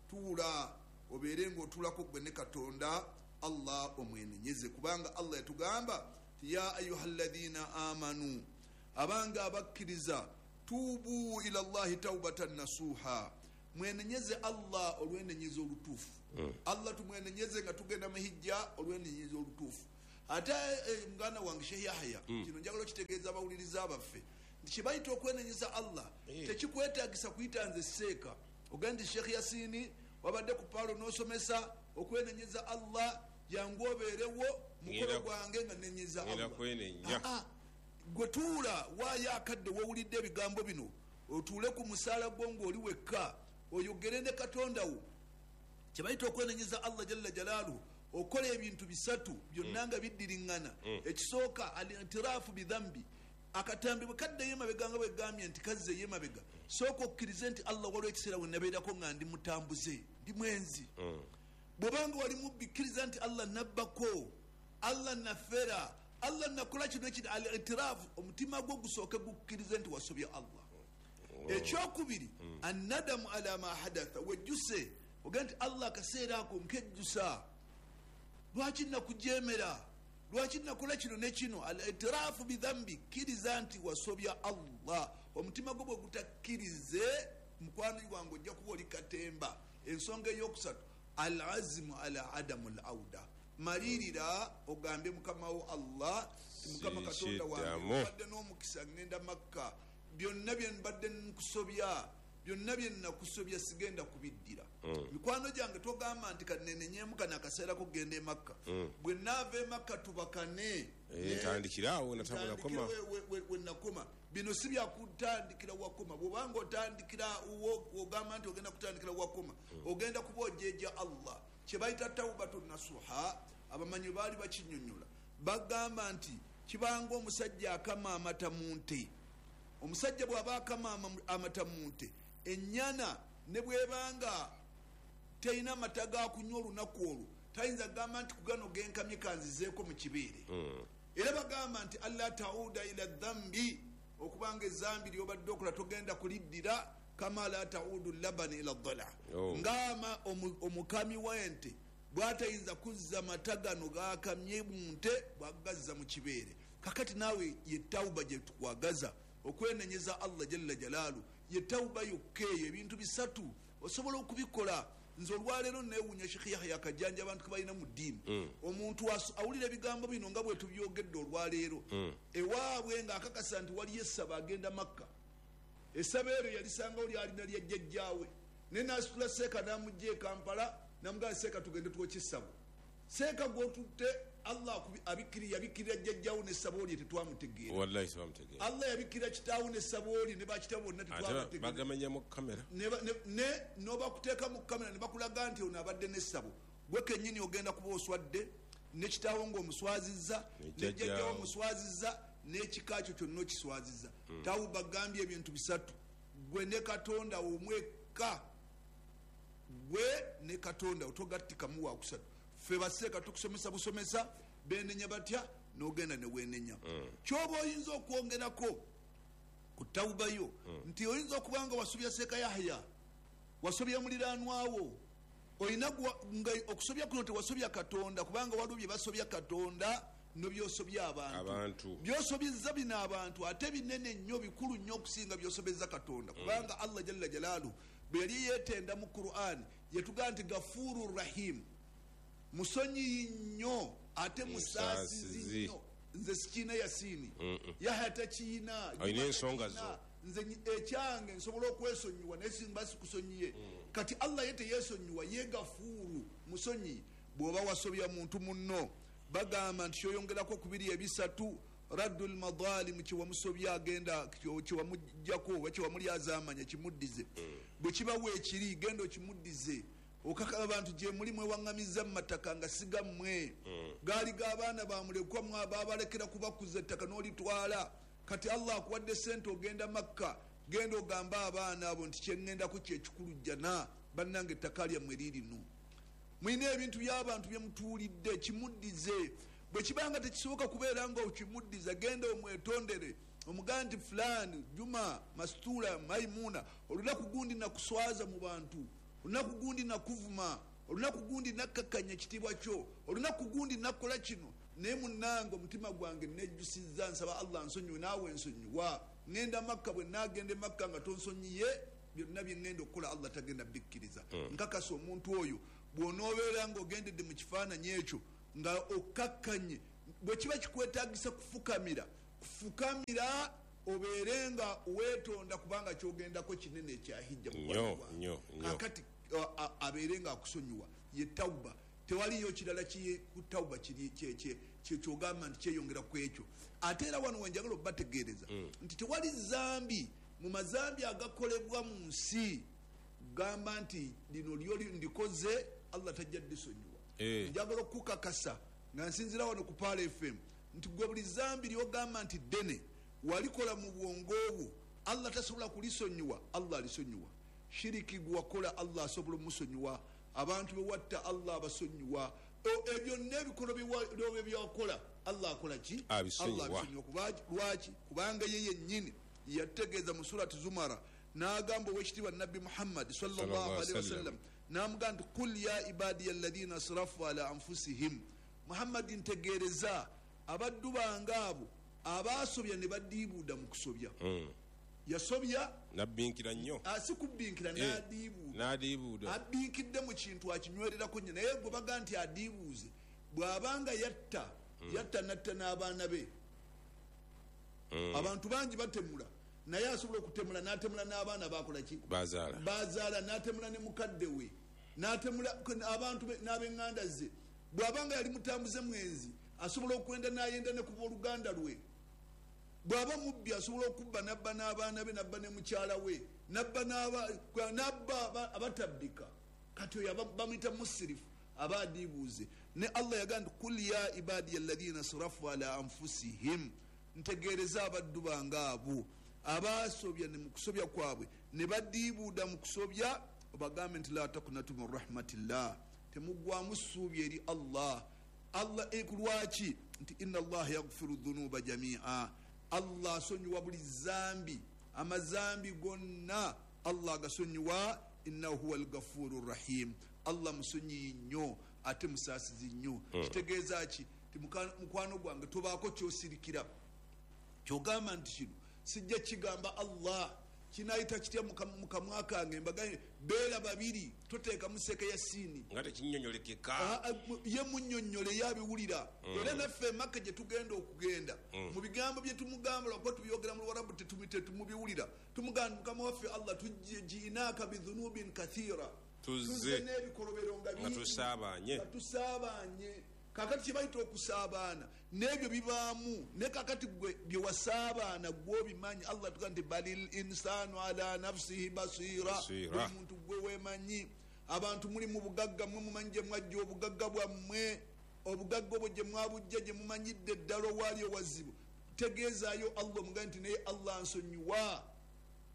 Tuula obeere ng'otuulako gwe ne Katonda Allah omwenenyeze, kubanga Allah yatugamba ti ya ayuha alladhina amanu, abanga abakkiriza, tuubu ila Allahi taubatan nasuha. Mwenenyeze Allah olwenenyeza olutuufu. Allah tumwenenyeze nga tugenda mu hijja olwenenyeza olutuufu. Ate muganda wange Sheikh Yahya, kino njagala okitegeeza abawuliriza baffe nti kyebayita okwenenyeza Allah tekikwetaagisa kuyita nze seeka ogenda nti Sheikh Yasini wabadde ku paalo n'osomesa okwenenyeza Allah, jangu obeerewo mukolo gwange nga nenyeza Allah. Gwe tuula waayo akadde wowulidde ebigambo bino, otuule ku musaala gwo ng'oli wekka, oyogere ne Katonda wo. Kyebayita okwenenyeza Allah jalla jalaaluhu, okola ebintu bisatu byonna nga biddiriŋŋana. Ekisooka, al-i'tiraafu bidhambi. Akatambi bwe kaddeyo emabega nga bwegambye nti kazzeeyo emabega, sooka okkirize nti Allah waliwo ekiseera we nabeerako nga ndi mutambuze, ndi mwenzi. Bw'obanga wali mubbi, kkiriza nti Allah nabbako, Allah nafera, Allah nakola kino ekiri. Al-i'tiraafu, omutima gwo gusooke gukkirize nti wasobya Allah. Ekyokubiri, annadamu ala ma hadatha, wejjuse ogende nti Allah akaseera ako nkejjusa, lwaki nakujemera, lwaki nakola kino ne kino. Al-i'tiraafu bidhambi, kkiriza nti wasobya Allah. Omutima gwo bwe gutakkirize, mukwano gwange ojja kuba oli katemba. Ensonga eyokusatu, al-azimu ala adamu al-auda, malirira ogambe mukama wo Allah, Mukama Katonda wange, mbadde n'omukisa ngenda Makka, byonna bye mbadde nkusobya, byonna bye nakusobya sigenda kubiddira. Mikwano gyange togamba nti kanenenyemu kano akaseera kugenda e Makka, bwe naava e Makka tubakane, ntandikirawo we nakoma. Bino si byakutandikira wakoma. Bwobanga otandikira ogamba nti ogenda kutandikira wakoma, ogenda kuba ojeja Allah. Kyebayita tawbatu nasuha, abamanyi baali bakinyonyola, bagamba nti kibanga omusajja akama amata mu nte. Omusajja bw'aba akama amata mu nte, ennyana ne bwebanga terina mata ga kunywa olunaku olwo, tayinza kugamba nti kugano genkamye kanzizeeko mu kibeere. Era bagamba nti alla tauda ila dhambi, okubanga ezambi lyobadde okola togenda kuliddira, kama la taudu labani ila dhala, ngama omukami w'ente bw'atayinza kuzza mata gano gakamye mu nte bw'agazza mu kibeere. Kakati naawe ye tawuba gye tukwagaza, okwenenyeza Allah jalla jalaalu, ye tawuba yokka eyo. Ebintu bisatu osobola okubikola. Nze olwaleero neewuunya Sheikh Yahya Kajanja abantu ke balina mu ddiini. Omuntu awulira ebigambo bino nga bwe tubyogedde olwaleero, ewaabwe ng'akakasa nti waliyo essaba agenda Makka, essaba eryo yalisangawo lyalina lya jjajjaawe, naye n'asitula seeka n'amugja e Kampala n'amugamba seeka tugende twokye essabo. Seeka gw'otutte Allah yabikkirira jjajjaawo n'essabo lye tetwamutegeera. Wallahi tebamutegeera. Allah yabikkirira kitaawo n'essabo lye ne bakitaawo bonna tetwabategeera. Bagamenya mu kamera. Ne n'obakuteeka mu kamera ne bakulaga nti ono abadde n'essabo. Gwe kennyini ogenda kuba oswadde, ne kitaawo ng'omuswazizza, ne jjajjaawo omuswazizza, n'ekika kyo kyonna okiswazizza. Tawuba gambye ebintu bisatu. Gwe ne Katonda omwekka, gwe ne Katonda otogattikamu wakusatu. Ffe baseeka tukusomesa busomesa, benenya batya n'ogenda ne weenenya. Kyoba oyinza okwongerako ku tawuba yo nti oyinza okuba nga wasobya Seeka Yahya, wasobya muliraanwawo, oyina nga okusobya kuno tewasobya Katonda, kubanga waliwo bye basobya Katonda nobyosobya abantu. Byosobezza bino abantu ate binene nnyo, bikulu nnyo okusinga byosobezza Katonda, kubanga Allah jalla jalaaluhu bwe yali yeetenda mu Qur'an yatugamba nti Gafuru Rahim, musonyiyi nnyo ate musaasizi nnyo. Nze sikiina Yasini, Yahya takiina, olina ensonga zo. Nze ekyange nsobola okwesonyiwa naye simba sikusonyiye. Kati Allah ye teyeesonyiwa, ye Gafuuru, musonyiyi. Bw'oba wasobya muntu munno, bagamba nti kyoyongerako kubiri ebisatu, raddul madhalimu, kyewamusobya agenda kyewamuggyako oba kyewamulyazaamanya kimuddize. Bwe kiba weekiri genda okimuddize. Okaka abantu gye muli mwewaŋŋamizza mu mataka nga si gammwe, gaali g'abaana bamulekwa baabalekera kubakuza ettaka n'olitwala. Kati Allah akuwadde sente ogenda Makka, genda ogambe abaana abo nti kyeŋŋendako kyekikulu jjana, bannange ettaka lyammwe liirino. Mulina ebintu by'abantu bye mutuulidde, kimuddize. Bwe kibanga tekisoboka kubeera nga okimuddiza, genda omwetondere, omugambe nti fulani, Juma, Masitula, Maimuna, olunaku gundi nakuswaza mu bantu, olunaku gundi nakuvuma, olunaku gundi nakkakkanya ekitiibwa kyo, olunaku gundi nakola kino, naye munnange omutima gwange nejjusizza, nsaba Allah nsonyiwe naawe nsonyiwa. Ŋŋenda Makka, bwe naagenda e Makka nga tonsonyiye Byonna byengenda okukola Allah tagenda bikkiriza. Nkakasa omuntu oyo bw'onoobeera ng'ogendedde mu kifaananyi ekyo nga okkakkanye, bwe kiba kikwetaagisa kufukamira, kufukamira, obeere nga weetonda, kubanga kyogendako kinene ekya hijja. Nnyo, nnyo, nnyo. Kakati abeere nga akusonyiwa, ye tawuba. Tewaliyo kirala ku tawuba kiri kyogamba nti kyeyongera ku ekyo. Ate era wano wenjagala obategeereza nti tewali zambi mu mazambi agakolebwa mu nsi gamba nti lino lyo ndikoze Allah tajja ddisonyiwa. Njagala okukakasa nga nsinzira wano ku Pearl FM nti gwe buli zambi lyogamba nti ddene walikola mu bwongo obwo Allah tasobola kulisonyiwa, Allah alisonyiwa. Shiriki gwewakola Allah asobola omusonyiwa, abantu bewatta Allah abasonyiwa, ebyo n'ebikolo byewakola Allah akola ki? Abisonyiwa. Allah abisonyiwa. Lwaki? Kubanga ye yennyini yategeeza mu Surati Zumara n'agamba owekitiibwa Nabbi Muhammad sallallahu alaihi wasallam, n'amugamba nti qul ya ibadiya alladhina asrafu ala anfusihim. Muhammad, ntegeereza abaddu bange abo abasobya ne badiibuuda mu kusobya. Yasobya nabbinkira nnyo, si kubbinkira, n'adiibuuda. N'adiibuuda. Abbinkidde mu kintu akinywererako nnyo, naye gwe baga nti adiibuuze bw'abanga yatta, yatta natta n'abaana be. Abantu bangi batemula, naye asobola okutemula n'atemula n'abaana bakola ki? Bazaala. Bazaala, n'atemula ne mukadde we, n'atemula abantu n'ab'eŋŋanda ze. Bw'abanga yali mutambuze mwenzi, asobola okwenda n'ayenda ne ku booluganda lwe. Bw'aba mubbi, asobola okubba n'abba n'abaana be, n'abba ne mukyala we, n'abba abatabbika. Kati oyo bamuyita musirifu, aba adiibuuze. Ne Allah yagamba nti kul ya ibadiya alladhina asrafu ala anfusihim, ntegeereza abaddu bange abo abasobya ne mu kusobya kwabwe ne badiibuuda mu kusobya, obagambe nti la takunatu min rahmatillah, temuggwamu ssuubi eri Allah. Allah lwaki? Nti inna Allah yaghfiru dhunuba jamia, Allah asonyiwa buli zambi, amazambi gonna Allah agasonyiwa. Innahu huwa alghafuru rahim, Allah musonyiyi nnyo ate musaasizi nnyo. Kitegeeza ki? Ti mukwano gwange tobaako kyosirikira kyogamba nti kino sijja kigamba Allah, kinayita kitya mu kamwa kange? Mbagambye beera babiri, toteekamu seke ya siini nga tekinnyonnyolekeka. Ye munnyonnyole, ye abiwulira. Era naffe Emaka gye tugenda okugenda mu bigambo bye tumugamba, lwakuba tubyogera mu Luwarabu tetumubiwulira, tumugamba mukama waffe Allah, tujiinaaka bidhunubin kathira, tuzze n'ebikolobero nga nga tusaabaanye. Nga tusaabaanye. Kakati kye bayita okusaabaana n'ebyo bibaamu, ne kakati gwe bye wasaabaana gw'obimanyi. Allah tuga nti balil insanu ala nafsihi basira, Basira. Buli muntu gwe weemanyi. Abantu muli mu bugagga, mwe mumanyi gye mwajja obugagga bwammwe, obugagga obwo gye mwabujja gye mumanyidde ddala owaali owazibu. Tegeezaayo Allah, omugambe nti naye Allah nsonyiwa.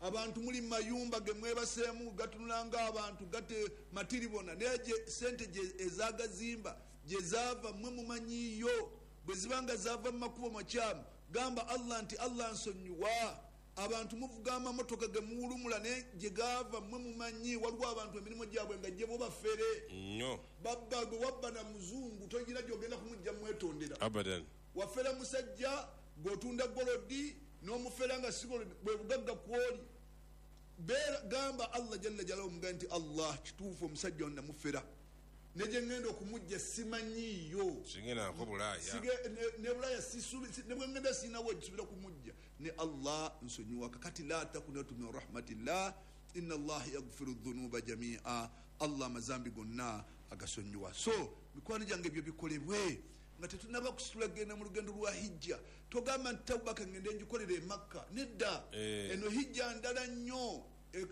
Abantu muli mu mayumba ge mwebaseemu gatunula ng'abantu gate matiribona, naye sente gye ezagazimba gye zaava mwe mumanyiiyo. Bwe ziba nga zaava mu makubo makyamu, gamba Allah nti Allah nsonyiwa. Abantu muvuga amamotoka ge muwulumula, naye gye gaava mwe mumanyi. Waliwo abantu emirimu gyabwe nga gye bo bafere nnyo, babba. Gwe wabba na muzungu, togira gyogenda kumujja mwetondera. Abadan. Wafera musajja gweotunda golodi n'omufera nga si golodi, bwe bugagga kwoli. Beera gamba Allah jalla jalaluhu, omugambe nti Allah kituufu omusajja ono namufera, ne gye ŋŋenda okumujja simanyiiyo. Singenako Bulaaya. Ne Bulaaya ne bwe ŋŋenda siinawo gisubira kumujja, ne Allah nsonyiwa. Kakati la takunatu min rahmatillah inna Allah yaghfiru dhunuba jamia, Allah amazambi gonna agasonyiwa. So mikwano gyange, ebyo bikolebwe nga tetunaba kusitula genda mu lugendo lwa hijja. Togamba nti tawuba kangende ngikolere e Makka, nedda. Eno hijja ndala nnyo,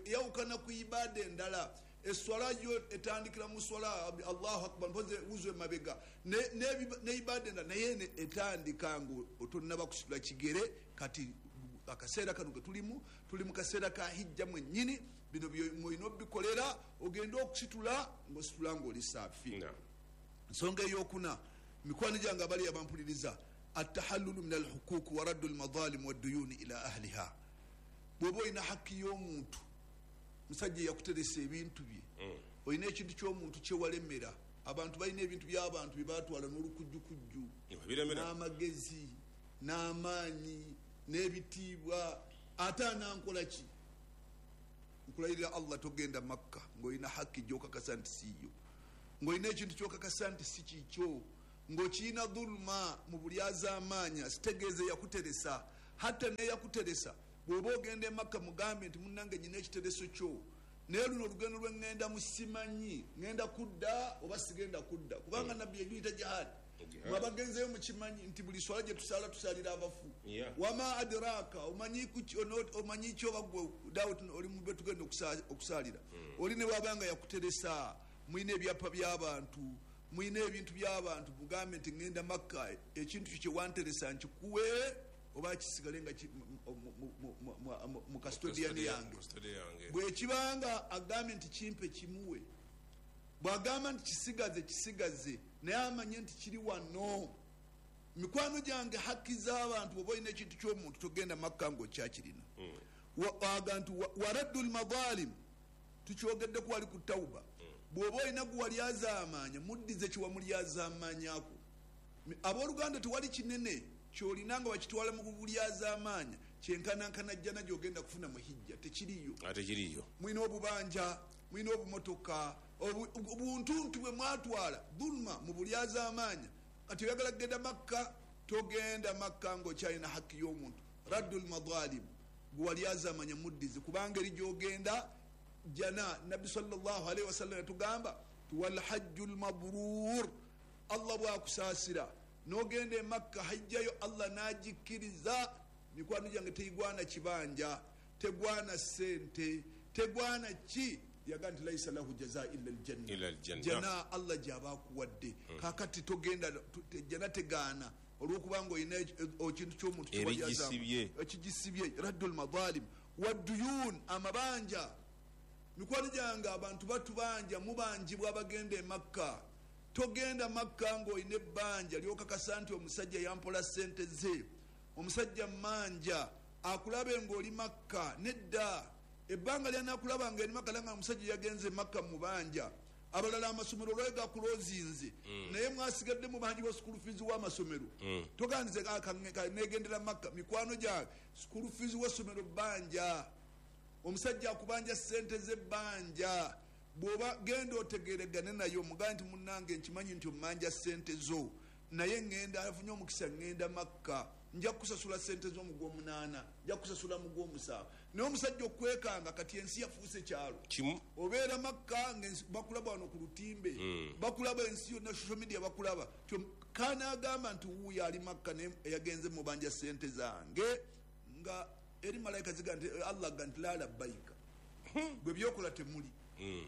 eyawukana ku ibaada endala. Eswala yo etandikira mu swala Allahu akbar, mpoze wuzu emabega ne ibaada endala, naye eno etandika nga otonnaba kusitula kigere. Kati akaseera kano ke tulimu, tuli mu kaseera ka hijja mwennyini. Bino mulina obikolera ogende okusitula ng'ositula ng'oli saafi. Ensonga eyokuna, mikwano gyange abali abampuliriza, atahallulu min alhuquq wa raddu almadhalim wadduyuni ila ahliha. Bw'oba olina hakki y'omuntu, musajja eyakuteresa ebintu bye, olina ekintu ky'omuntu kyewalemera. Abantu balina ebintu by'abantu bye batwala n'olukujjukujju, Biremera. n'amagezi n'amaanyi n'ebitiibwa, ate anankola ki? Nkulayirira Allah, togenda Makka ng'olina haki gy'okakasa nti siiyo, ng'olina ekintu kyokakasa nti si kikyo, ng'okiyina dhuluma mu bulyazaamaanya. Sitegeeze yakuteresa, hatta neyakuteresa. Bw'oba ogenda e Makka, mugambe nti munnange, nyina ekitereso kyo, naye luno olugendo lwe ŋŋenda simanyi ŋŋenda kudda oba sigenda kudda, kubanga Nabbi yagiyita jihadi. Mwabagenzeyo mukimanyi nti buli swala gye tusaala, tusaalira abafu. Wama adraka, omanyi ki oba gwe Dawud oli mube tugenda okusaalira oli? Ne bwabanga yakuteresa, mulina ebyapa by'abantu, mulina ebintu by'abantu, mugambe nti ŋŋenda Makka, ekintu kyo kyewanteresa nkikuwe oba kisigale nga mu custodian yange. Custody yange. Bwekibanga agambye nti kimpe, kimuwe. Bwagamba nti kisigaze, kisigaze, naye amanye nti kiri wano. Mikwano gyange, haki z'abantu, oba olina ekintu ky'omuntu, togenda Makka ngaokyakirina. Aga nti waraddu lmadhalim, tukyogeddeku wali ku Tauba. Bw'oba olina guwalyazaamaanya, muddize kiwamulyazaamaanyako. Abooluganda, tewali kinene kyolina nga bakitwala mu bulyazaamaanya kyenkanankana jjana gyogenda kufuna mu hijja, tekiriyo. Ate kiriyo. Mulina obubanja, mulina obumotoka, obuntuntu bwe mwatwala dhuluma mu bulyazaamaanya. Kati oyagala kugenda Makka, togenda Makka ngaokyalina haki y'omuntu. Raddu lmadhalim, gwewalyazaamanya muddize, kubanga eri gyogenda jana. Nabbi sallallahu alaihi wasallam yatugamba ti walhajju lmabrur, Allah bwakusaasira nogenda e Makka, hajjayo Allah nagikkiriza, mikwano gyange, tegwana kibanja, tegwana sente, tegwana ki. Yaga nti laisa lahu jaza illa aljanna. Illa aljanna. Jana Allah gyaba akuwadde. Kakati togenda jana tegaana olwokubanga olina ekintu ky'omuntu Ebigisibye. Ekigisibye. Raddu lmadhalim wadduyun, amabanja. Mikwano gyange, abantu batubanja, mubanjibwa abagenda e Makka. Togenda Makka ngaolina ebbanja lyokakasa nti omusajja yampola sente ze, omusajja manja, akulabe ngaoli Makka. Nedda, ebbanga lyanakulaba nga eri Makka, langa omusajja yagenze Makka mubanja. Abalala amasomero olwayo gakulozinze, naye mwasigadde mubanjibwa school fees w'amasomero. Togandize negendera Makka. Mikwano gyange, school fees w'essomero bbanja, omusajja akubanja sente z'ebbanja. Bw'oba genda otegeregane naye, omugambe nti munnange, nkimanyi nti omanja sente zo, naye ŋŋenda afunye omukisa, ŋŋenda Makka, nja kusasula sente zo mu gwomunaana, nja kusasula mu gwomusanvu. Naye omusajja okwekanga, kati ensi yafuuse kyalo. Kimu. Obeera Makka nga bakulaba wano ku lutimbe, bakulaba ensi yonna, social media bakulaba. Kanaagamba nti wuuyo ali Makka, naye yagenze mubanja sente zange, nga eri malayika ziga nti Allah ga nti la labbaika, gwe byokola temuli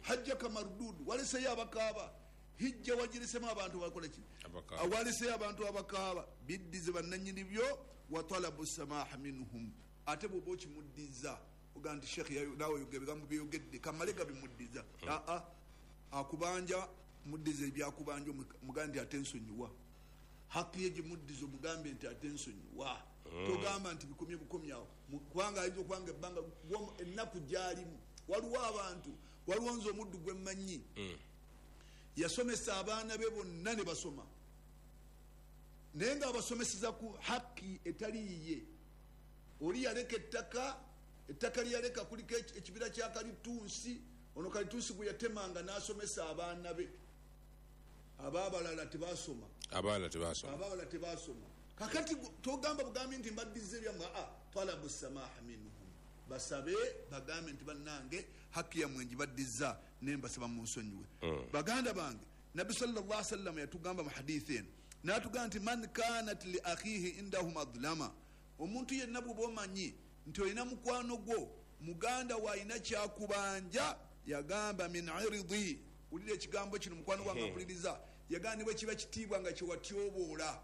hajjaka marududu. Waleseyo abakaaba, hijja wagiresemu abantu bakola ki? Abakaaba. Waleseyo abantu abakaaba, biddize bannanyini byo. Wa talabu samaha minhum, ate bwoba okimuddiza oga nti shekh, naawe oyogera ebigambo byeyogedde, kamale gabimuddiza. Aa, akubanja muddize ebyakubanja, mugambe nti ate nsonyiwa. Haki ye gimuddize, omugambe nti ate nsonyiwa. Togamba nti bikomye bukomyawo, kubanga ayinza okubanga ebbanga ennaku gyalimu. Waliwo abantu, waliwo nze omuddu gwe mmanyi, yasomesa abaana be bonna ne basoma, naye ngaabasomeseza ku haki etali yiye. Oli yaleka ettaka, ettaka lyeyaleka kuliko ekibira kya kalitunsi. Ono kalitunsi gwe yatemanga n'asomesa abaana be, abaabalala tebasoma. Abaana tebasoma. Abaawala tebasoma. Kakati togamba bugambi nti mbaddiza ebyammwe. Aa, talabu samaha minhum, basabe, bagambe nti bannange, haki yammwe njibaddiza, naye mbasaba munsonyiwe. Baganda bange, Nabbi sallallahu sallam yatugamba mu hadithi eno, natugamba nti man kanat li akhihi indahu madlama, omuntu yenna bwoba omanyi nti olina mukwano gwo, muganda we, alina kyakubanja, yagamba min iridi, wulira ekigambo kino, mukwano gwange mpuliriza, yagamba ne bwe kiba kitiibwa nga kyewatyoboola.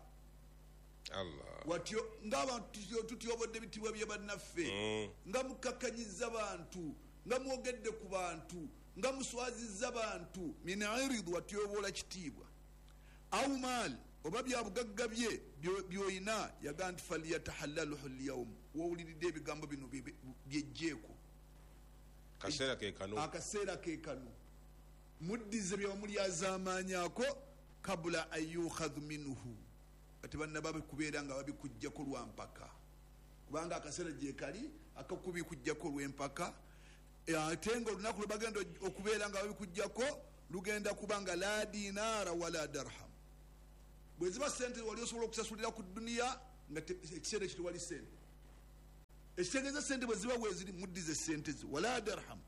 Allah. Watyo ngaabantu tutyobodde ebitiibwa bye bannaffe, nga mukakkanyiza bantu, nga mwogedde ku bantu, nga muswazizza bantu. Min irid, watyoboola kitiibwa, au maal, oba byabugagga bye byoyina, yagaa nti falyatahallaluhu lyaum, wowuliridde ebigambo bino byejjeeko. Kaseera ke kano. Akaseera ke kano, muddize byewamulyazaamaanyako, kabula an yukhadhu minhu, ate banna babikubeera nga babikugjako lwampaka, kubanga akaseera gyekali akakubikugjako lwempaka. Ate nga olunaku lwe bagenda okubeera nga babikuggyako lugenda kuba nga la dinaara wala darham. Bwe ziba sente wali osobola okusasulira ku duniya nga ekiseera ekyo tewali sente, ekitegeeza sente bwe ziba weeziri muddize sente zo. Wala darham.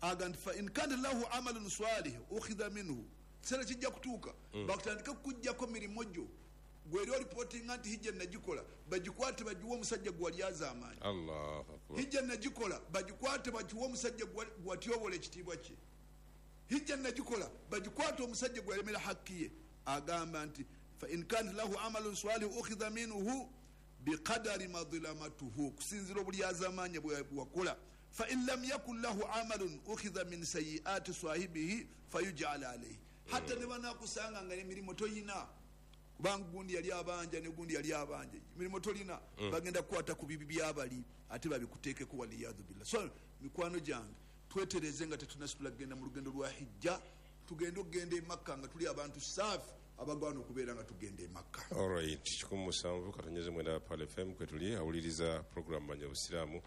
Aga nti fa in kana lahu amalun salih ukhidha minhu, kiseera kijja kutuuka bakutandika kukuggyako mirimu gyo gweri olipootinga nti hijja nagikola, bagikwate bagiwe omusajja gwe wali azaamaanyi. Allahu akbar. Hijja nagikola, bagikwate bagiwe omusajja gwe watyobola ekitiibwa kye. Hijja nagikola, bagikwate omusajja gwe yalemera hakki ye. Agamba nti fa in kana lahu amalun salih ukhidha minhu biqadari madlamatuhu, kusinzira obulyazamaanyi bwe wakola. Fa in lam yakun lahu amalun ukhidha min sayiati sahibihi fayujala alayhi. Hatta ne banakusanga nga emirimu toyina, kubanga gundi yali abanja ne gundi yali abanja, emirimu tolina, bagenda kukwata ku bibi byabali ate babikuteekeko, waliyadhu billah. So mikwano gyange, twetereze nga tetunasitula kugenda mu lugendo lwa hijja, tugende okugenda e Makka nga tuli abantu saafi abagwana okubeera nga tugenda e Makka. Alright, 17.9 Pal FM kwe tuli awuliriza program Manya Obusiraamu.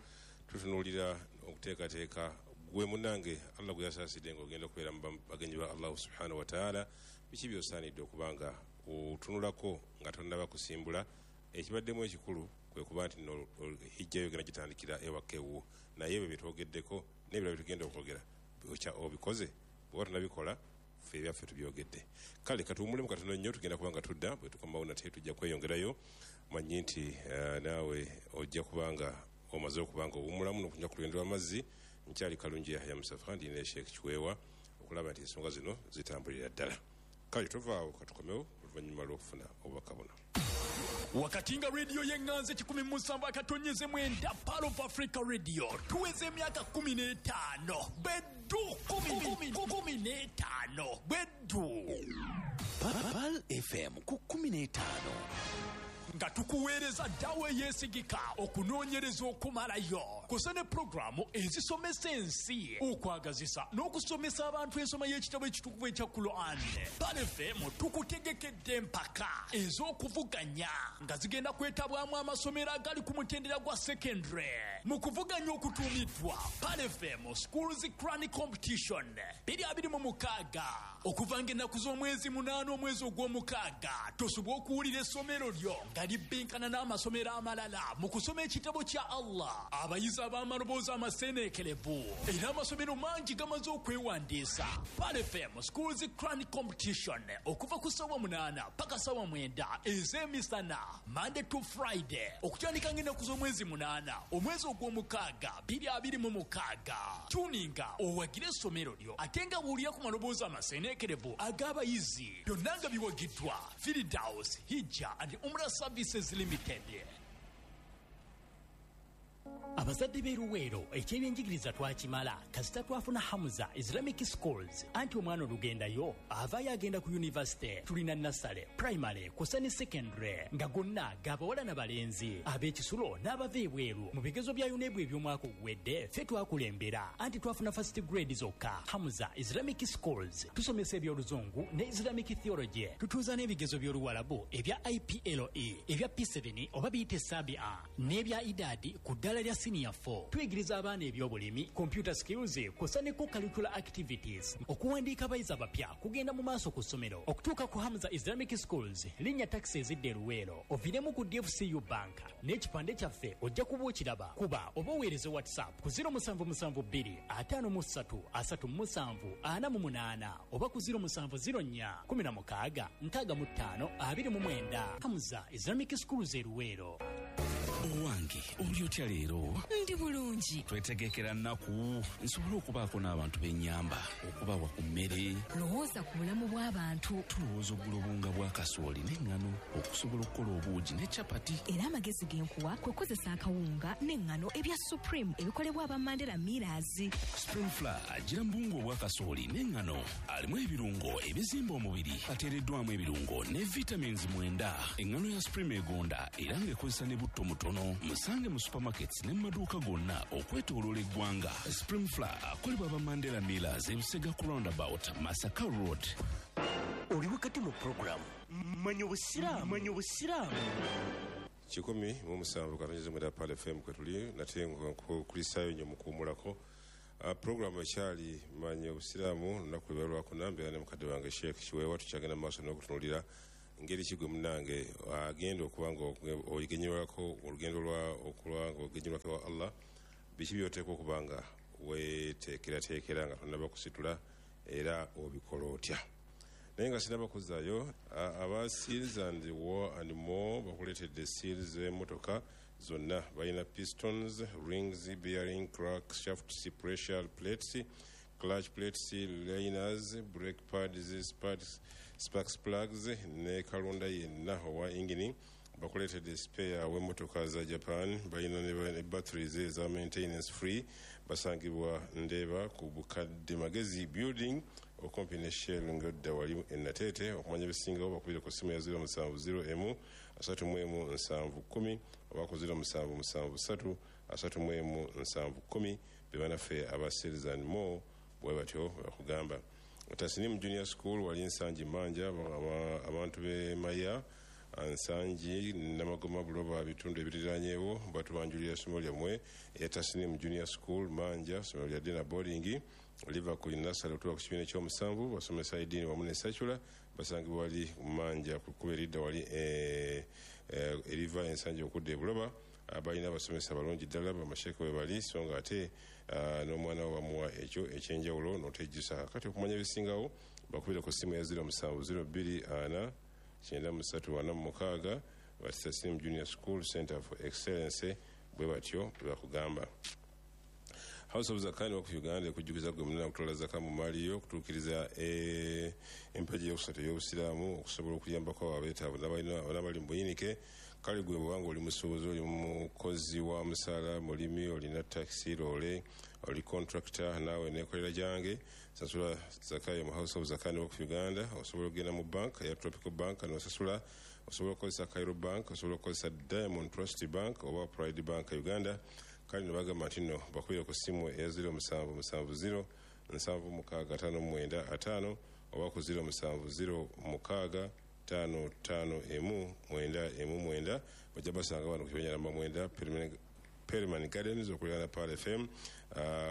Tutunuulira okuteekateeka gwe munnange Allah gwe yasaasidde ng'ogenda okubeera mu bagenyi ba Allahu subhanahu wa ta'ala. Biki by'osaanidde okuba nga otunulako nga tonnaba kusimbula? Ekibaddemu ekikulu kwe kuba nti no hijja yo egenda gitandikira ewaka ewuwo, naye ebyo bye twogeddeko n'ebirala bye tugenda okwogera obikoze? Bw'oba tonabikola, ffe ebyaffe tubyogedde. Kale katuwummulemu katono nnyo, tugenda kuba nga tudda. Bwe tukomawo nate tujja kweyongerayo. Manyi nti naawe ojja kuba nga omaze okuba nga owummulamu n'okunywa ku lugendo lw'amazzi. Nkyali Kalungi Yahya Musafa, ndi ne Sheikh Kiweewa okulaba nti ensonga zino zitambulira ddala. Kale tovaawo, katukomewo oluvannyuma lw'okufuna obubaka buno. Wakati nga rediyo y'eŋŋanzi 17.9 Pearl of Africa Radio tuweza emyaka 15 beddu 15 beddu. Pearl FM ku 15 nga tukuweereza ddawa eyeesigika, okunoonyereza okumalayo kusa ne pulogulaamu ezisomesa ensi, okwagazisa n'okusomesa abantu ensoma y'ekitabo ekitukuvu ekya Quran. Pearl FM tukutegekedde empaka ez'okuvuganya nga zigenda kwetabwamu amasomero agali ku mutendera gwa secondary mu kuvuganya okutuumiddwa Pearl FM Schools Quran Competition 2026 okuva ng'ennaku z'omwezi 8 omwezi ogw'omukaaga. Tosobola okuwulira essomero lyo nga libbinkana n'amasomero amalala mu kusoma ekitabo kya Allah. Abayizi ab'amaloboozi amaseeneekerevu era amasomero mangi gamaze okwewandiisa. Pearl FM Schools Quran Competition okuva ku ssaawa 8 paka ssaawa 9 ez'emisana, Monday to Friday, okutandika ng'ennaku z'omwezi 8 omwezi ogw'omukaaga 2026. Tuninga owagire essomero lyo ate nga buulira ku maloboozi amaseeneekerevu ag'abayizi. Byonna nga biwagiddwa Firdaus Hijja and Umrah Services Limited. Abazadde b'e Luweero, ekyebyenjigiriza twakimala kasita twafuna Hamza Islamic Schools. Anti omwana olugendayo avaayo agenda ku yunivasite. Tulina nursery, primary kusa ne secondary nga gonna g'abawala n'abalenzi, ab'ekisulo n'abava ebweru. Mu bigezo bya UNEB eby'omwaka oguwedde ffe twakulembera, anti twafuna first grade zokka. Hamza Islamic Schools tusomesa eby'oluzungu ne Islamic theology. Tutuuza n'ebigezo by'oluwalabu ebya IPLE, ebya P7 oba biyite Sabia n'ebya idadi ku ddala lya senior 4. Tuyigiriza abaana ebyobulimi, computer skills kusa ne co-curricular activities. Okuwandiika abayizi abapya kugenda mu maaso ku ssomero. Okutuuka ku Hamza Islamic Schools, linnya takisi ezidda e Luweero, oviiremu ku DFCU Bank n'ekipande kyaffe ojja kuba okiraba. Kuba oba oweereze WhatsApp ku 0772 53 37 48 oba ku 0704 16 65 29. Hamza Islamic Schools e Luweero. Owange, oli otya leero? Ndi bulungi. Twetegekera nnaku nsobole okubaako n'abantu b'ennyamba, okubawa ku mmere. Lowooza ku bulamu bw'abantu. Tulowooza okugula obuwunga bwa kasooli n'eŋŋano okusobola okukola obuugi ne capati. Era amagezi ge nkuwa kwe kukozesa akawunga n'eŋŋano ebya Supreme ebikolebwa aba Mandela Millers. Supreme Flour agira mu buwunga obwa kasooli n'eŋŋano, alimu ebirungo ebizimba omubiri, ateereddwamu ebirungo ne vitamins 9. Eŋŋano ya Supreme egonda era ng'ekozesa ne butto mutono. Musange mu supermarkets ne mu maduuka gonna okwetooloola eggwanga. Supreme Flour akolebwa aba Mandela Millers, ebisega ku roundabout Masaka Road. Oli wakati mu pulogulaamu Manya Obusiraamu. Manya Obusiraamu. 17.9 Pal FM kwe tuli nate nkukulisaayo nnyo mu kuwummulako. Programu ekyali Manya Obusiraamu, lunaku lwe lwakuna, mbeera ne mukadde wange Sheikh Kiweewa. Tukyagenda mu maaso n'okutunuulira ngeri ki gwe munnange agenda okuba nga ogenyerwako olugendo lwa okulwa nga ogenyerwako wa Allah, biki by'oteekwa okuba nga weeteekerateekera nga tonnaba kusitula, era obikola otya. Naye nga sinaba kuzzaayo, aba Seals and War and More bakuleetedde seals z'emmotoka zonna. Balina pistons, rings, bearing, crank shafts, pressure plates, clutch plates, liners, brake pads, sparks plugs ne kalonda yenna owa ingini. Bakuleetedde spare w'emmotoka za Japan. Balina ne batteries eza maintenance free. Basangibwa Ndeeba ku Bukadde Magezi Building, okumpi ne Shell ng'odda wali e Nateete. Okumanya ebisingawo bakubire ku ssimu ya 0701 31 710 oba ku 0773 31 710. Be banaffe aba Sales and More, bwe batyo bakugamba. Tasinimu Junior School wali Nsangi Manja, abantu b'e Maya, Nsangi, Namagoma, Buloba, bitundu ebiriranyeewo batubanjulira essomero lyammwe eya Tasinimu Junior School Manja. Ssomero lya day na boarding, liva ku nursery okutuuka ku kibiina ekyomusanvu. Basomesa ediini wamu ne secular. Basangibwa wali Manja ku kkubo eridda wali eriva Ensangi okudda e Buloba. Balina abasomesa balungi ddala, bamasheeke we bali, so nga ate n'omwana we bamuwa ekyo ekyenjawulo n'otejjusa. Kati okumanya ebisingawo bakubira ku ssimu ya 0702 4 93 46. Batasimu Junior School, Center for Excellence, bwe batyo bwe bakugamba. House of Zakani Waqf Uganda ekujjukiza gwe munene okutwala zaka mu maali yo, okutuukiriza empagi eyokusatu ey'obusiraamu, okusobola okuyambako abo abeetaavu n'abali mu buyinike. Kale gwe bwobanga oli musuubuzi, oli mukozi wa musaala, mulimi, olina taxi, loole, oli contractor, naawe nekolera gyange, sasula zakayo mu House of Zakani Waqf Uganda. Osobola okugenda mu bank eya Tropical Bank nosasula, osobola okukozesa Cairo Bank, osobola okukozesa Diamond Trust Bank oba Pride Bank Uganda. Kale ne bagamba nti nno bakubire ku ssimu eya 0770 7659 50 oba ku 0706 551 919. Bajja basanga wano ku kibanja namba 9, Perryman Gardens, okuliraana Pearl FM,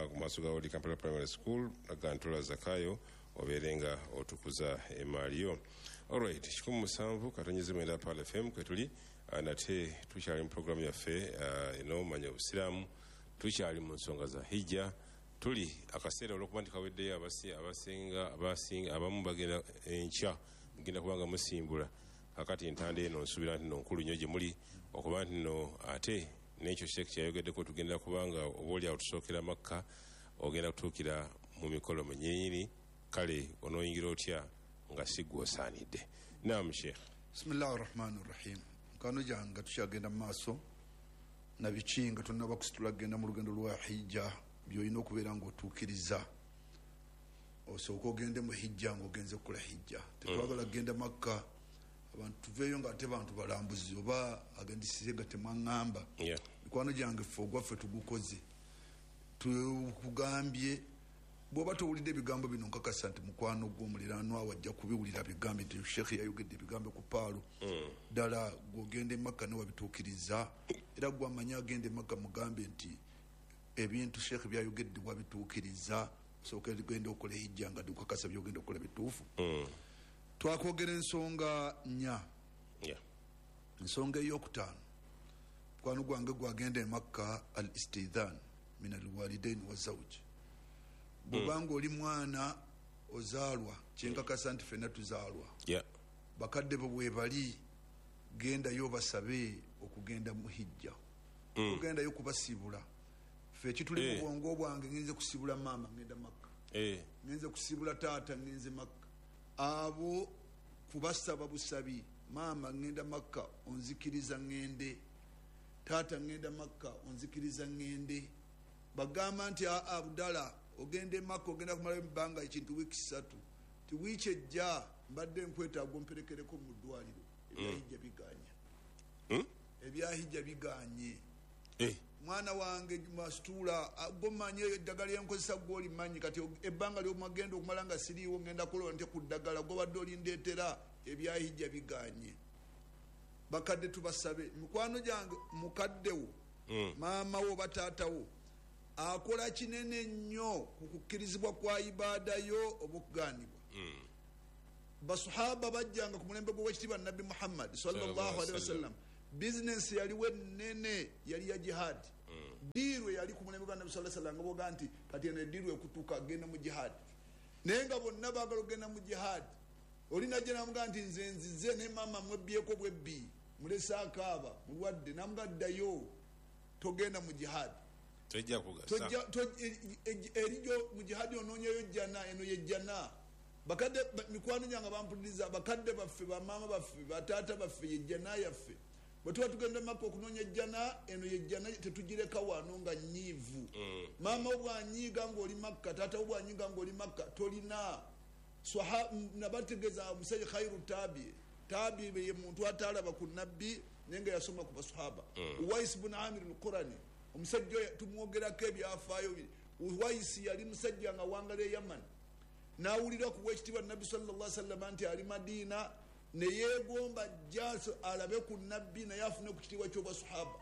ku maaso ga Old Kampala Primary School. Agantola zakayo obeere nga otukuza emaali yo. Alright, 107.9 Pearl FM kwetuli. Nate tukyali mu programu yaffe eno Manya Obusiraamu. Tukyali mu nsonga za hijja. Tuli akaseera olwokuba nti kaweddeyo, abasinga abamu bagenda enkya, mugenda kubanga musimbula. Kakati entanda eno nsuubira nti no nkulu nnyo gye muli, okuba nti no ate n'ekyo Sheekh kyeyayogeddeko, tugenda kubanga oba oli awo tusookera Makka, ogenda kutuukira mu mikolo munyinyini. Kale onooyingira otya nga si gwe osaanidde? Nam Sheekh. Bismillahi rahmani rahim. Mukwano gyange, nga tukyagenda mu maaso nabiki nga tonaba kusitula kugenda mu lugendo lwa hijja, byolina okubeera ngaotuukiriza osooka ogende mu hijja ngaogenze kukola hijja. Tetwagala kugenda Makka abantu tuveeyo nga ate bantu balambuzi oba agendisize nga temwaŋŋamba. Mikwano gyange, ffe ogwaffe tugukoze, tukugambye. Bw'oba towulidde ebigambo bino, nkakasa nti mukwano gw'omuliraanwa wajja kubiwulira bigambe nti Sheekh yayogedde ebigambo ku Paalo. Ddala gwogenda Emakka newabituukiriza, era gwamanyi agenda Emakka mugambe nti ebintu Sheekh byayogedde wabituukiriza, osooka genda okola hijja nga dukakasa byogenda okukola bituufu. Twakwogera ensonga nnya. Ensonga eyokutaano, mukwano gwange gwagenda Emakka, al istidhan min alwalidain wazauji. Bwobanga oli mwana ozaalwa, kyenkakasa nti fenna tuzaalwa, bakadde bo bwebali, gendayo basabe okugenda mu hijja. Ogendayo kubasibula. Fe ekituli mu bwongo bwange, ngenze kusibula maama, ngenda Makka, ngenze kusibula taata, ngenze Makka. Abo kubasaba busabi: maama, ngenda Makka, onzikiriza ngende? Taata, ngenda Makka, onzikiriza ngende? Bagamba nti aa, Abdala, ogenda Emakka, ogenda kumalayo ebbanga ekintu wiiki 3, ti wiiki ejja mbadde nkwetaaga omperekereko mu ddwaliro. Ebyahijja biganye, ebyahijja biganye. Mwana wange masituula, gomanye eddagala lyenkozesa, gwolimanyi. Kati ebbanga lyomagenda okumala nga siriiwo, ngenda kulola nte ku ddagala gobadde olindeetera? Ebyahijja biganye. Bakadde tubasabe. Mikwano gyange, mukaddewo, maama wo oba taatawo. Akola kinene nnyo ku kukkirizibwa kwa ibaada yo oba okugaanibwa. Basahaba bajjanga ku mulembe gw'owekitiibwa Nabbi Muhammad sallallahu alaihi wasallam. Bizinensi yaliwo ennene yali ya jihadi. Diiru yali ku mulembe gwa Nabbi sallallahu alaihi wasallam nga boga nti kati eno ediiru ekutuuka genda mu jihadi, naye nga bonna baagala okugenda mu jihadi. Oli najja n'amugamba nti nze nzize ne maama mwebbyeko bwebbi, mulese akaaba mulwadde, n'amugamba ddayo togenda mu jihadi. Tojja kugasa. Erijo mu jihadi onoonyeyo jjana, eno ye jjana. Bakadde mikwano gyange bampuliriza, bakadde baffe, bamaama baffe, bataata baffe, ye jjana yaffe. Bwe tuba tugenda Makka okunoonya jjana, eno ye jjana, tetugireka wano nga nnyiivu. Maama wo bw'anyiiga ng'oli Makka, taata wo bw'anyiiga ng'oli Makka, tolina. Nabategeeza omusajja khairu tabi. Tabi ye muntu atalaba ku nabbi naye nga yasoma ku basahaba. Uwais bun Amir al-Qurani, omusajja oyo tumwogerako ebyafaayo biri. Uwais yali musajja nga wangala e Yaman, n'awulira ku wekitiibwa Nabbi sallallahu alaihi wasallam nti ali Madina, ne yeegomba jja alabe ku nabbi naye afune ku kitiibwa ky'obwasahaba.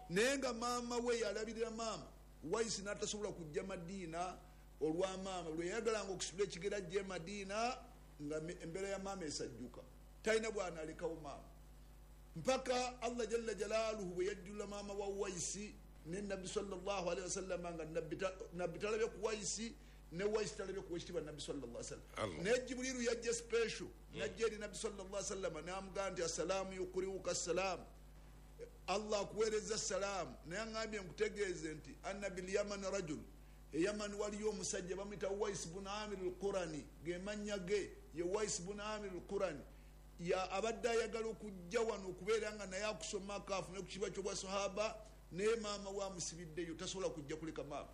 Naye nga maama we yalabirira maama, Uwais n'atasobola kujja Madina olwa maama. Lwe yayagalanga okusitula ekigera ajja e Madina nga embeera ya maama esajjuka, talina bw'anaalekawo maama, mpaka Allah jalla jalaaluhu bwe yajjula maama wa Uwais ne Nabbi sallallahu alaihi wasallam, nga nabbi talabye ku Uwais ne Uwais talabye ku wekitiibwa Nabbi sallallahu alaihi wasallam. Naye Jibriilu yajja special, najja eri Nabbi sallallahu alaihi wasallam n'amugamba nti assalaamu yukuriuka assalaamu, Allah akuweereza salaamu, naye aŋŋambye nkutegeeze nti anna bil Yaman rajul, e Yaman waliyo omusajja bamuyita Uwais bun Amir al-Qurani, ge mannya ge ye Uwais bun Amir al-Qurani, ya abadde ayagala okujja wano okubeera nga naye akusomako afune ku kitiibwa ky'obwasahaba, naye maama we amusibiddeyo, tasobola kujja kuleka maama.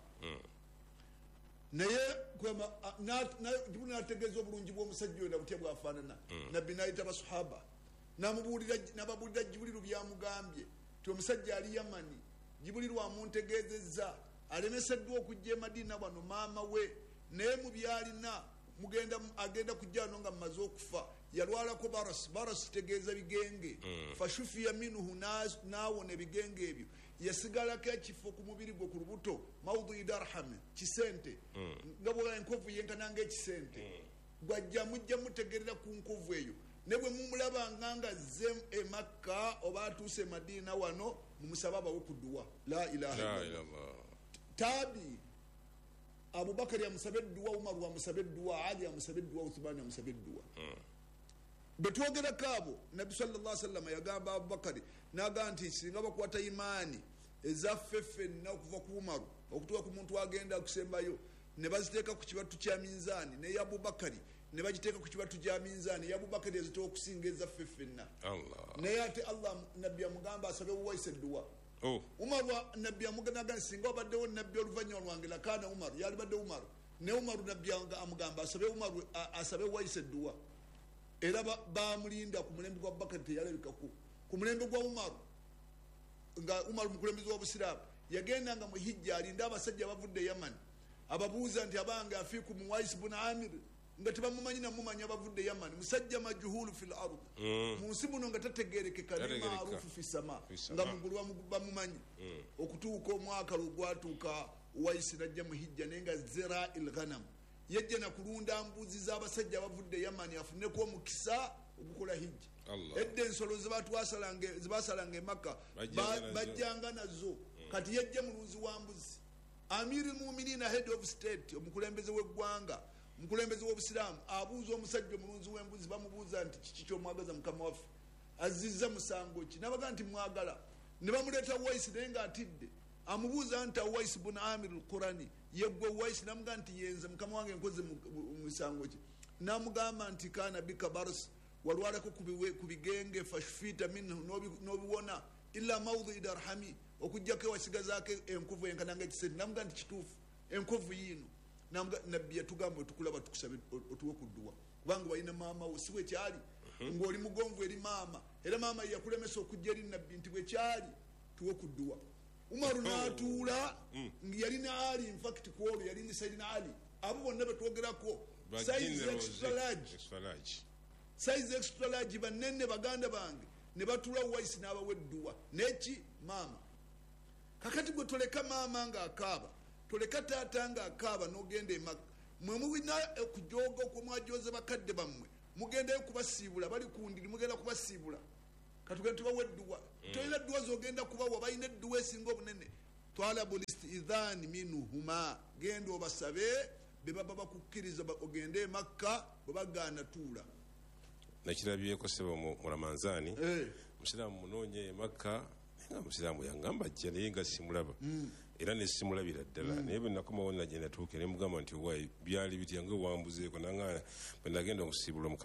Naye Jibriilu n'ategeeza obulungi bw'omusajja oyo na butya bw'afaanana. Nabbi n'ayita basahaba n'ababuulira Jibriilu byamugambye nti omusajja ali Yamani, Jibriilu amuntegeezezza alemeseddwa okujja e Madina wano maama we, naye mu byalina agenda kujja wano nga mmaze okufa. Yalwalako baras, baras kitegeeza bigenge. Fashufiya minhu, n'awona ebigenge ebyo. Yasigalako ekifo ku mubiri gwe ku lubuto, maudhui darham, kisente, nga bw'olaba enkovu yenkana ng'ekisente. Gwajja mujja mutegerera ku nkovu eyo, ne bwe mumulabanga nga azze e Makka oba atuuse e Madina wano, mumusabe abawe ku dduwa. La ilaha illallah. Tabi Abubakari amusabe edduwa, Umaru amusabe edduwa, Ali amusabe edduwa, Uthmani amusabe edduwa. Bwe twogerako abo, Nabbi sallallahu alaihi wasallam yagamba Abubakari n'agamba nti singa bakwata imaani ezaffe ffenna okuva ku Umaru okutuuka ku muntu agenda akusembayo, ne baziteeka ku kibatu kya minzaani, ne Abubakari ne bagiteeka ku kibatu kya minzaani, Abubakari ezitowa okusinga ezaffe ffenna. Naye ate Allah Nabbi amugamba asabe Uwais edduwa. Umaru Nabbi amugamba singa wabaddewo Nabbi oluvannyuma lwange lakaana Umaru, yalibadde Umaru. Ne Umaru Nabbi amugamba asabe Umaru, asabe Uwais edduwa. Era bamulinda ku mulembe gwa Abubakari teyalabikako. Ku mulembe gwa Umaru, nga Umaru mukulembeze wa Busiraamu, yagendanga mu hijja alinda abasajja abavudde Yaman, ababuuza nti abange afiikum Uwais bun Amir, nga tebamumanyi namumanya abavudde Yaman, musajja majhulu fil ard, mu nsi muno nga tategerekeka, ne maarufu fi sama, nga mugulu bamumanyi. Okutuuka omwaka lwe gwatuuka Uwais najja mu hijja naye nga zera il ghanam, yajja na kulunda mbuzi z'abasajja abavudde Yamani afuneko omukisa ogukola hijja. Edda ensolo zebasalanga e Makka bajjanga nazo, kati yajja mulunzi wa mbuzi. Amiri Muminina, head of state, omukulembeze w'eggwanga, omukulembeze w'obusiraamu, abuuza omusajja omulunzi w'embuzi, bamubuuza nti kiki ky'omwagaza mukama waffe, azizza musango ki? N'abagamba nti mwagala. Ne bamuleeta Uwais naye ng'atidde, amubuuza nti Uwais bun Amir al-Qurani, yeggwe Uwais? N'amugamba nti yenze mukama wange, nkoze musango ki? N'amugamba nti kana bika baras, walwalako ku bigenge, fashufita minhu, n'obiwona, illa maudhi darhami, okuggyako ewasigazaako enkovu enkana ng'ekisente. N'amugamba nti kituufu, enkovu yiino. Nabbi yatugamba otukulaba tukusabe otuwe ku dduwa, kubanga walina maama wo, si bwe kyali ng'oli mugonvu eri maama, era maama yakulemesa okujja eri Nabbi nti bwe kyali tuwe ku dduwa. Umaru n'atuula, yalina Ali, in fact ku olwo yali ne Sayyidina Ali, abo bonna be twogerako size extra large, size extra large, bannene baganda bange, ne batuula Uwais n'abawa edduwa neki maama. Kakati gwe toleka maama ng'akaaba. Toleka taata nga akaaba n'ogenda eMakka. Mwe mulina okujooga okwemwajoze bakadde bammwe, mugendayo kubasiibula, bali ku ndiri, mugenda kubasiibula. Katugende tubawa edduwa. Tolina dduwa zogenda kubawa, balina edduwa esinga obunene. Talabu listidhani minhuma, genda obasabe be baba bakukkiriza ogende eMakka, bwe bagaana tuula. Nakirabyeko sebo mu Ramanzaani. Musiraamu munoonye eMakka, naye nga musiraamu yangamba ajja, naye nga simulaba era nesimulabira ddala. Naye bwe nakomawo nagye natuuka ne mugamba nti, "Owaayi, byali bitya nga wambuzeeko?" Nanga bwe nagenda okusiibula.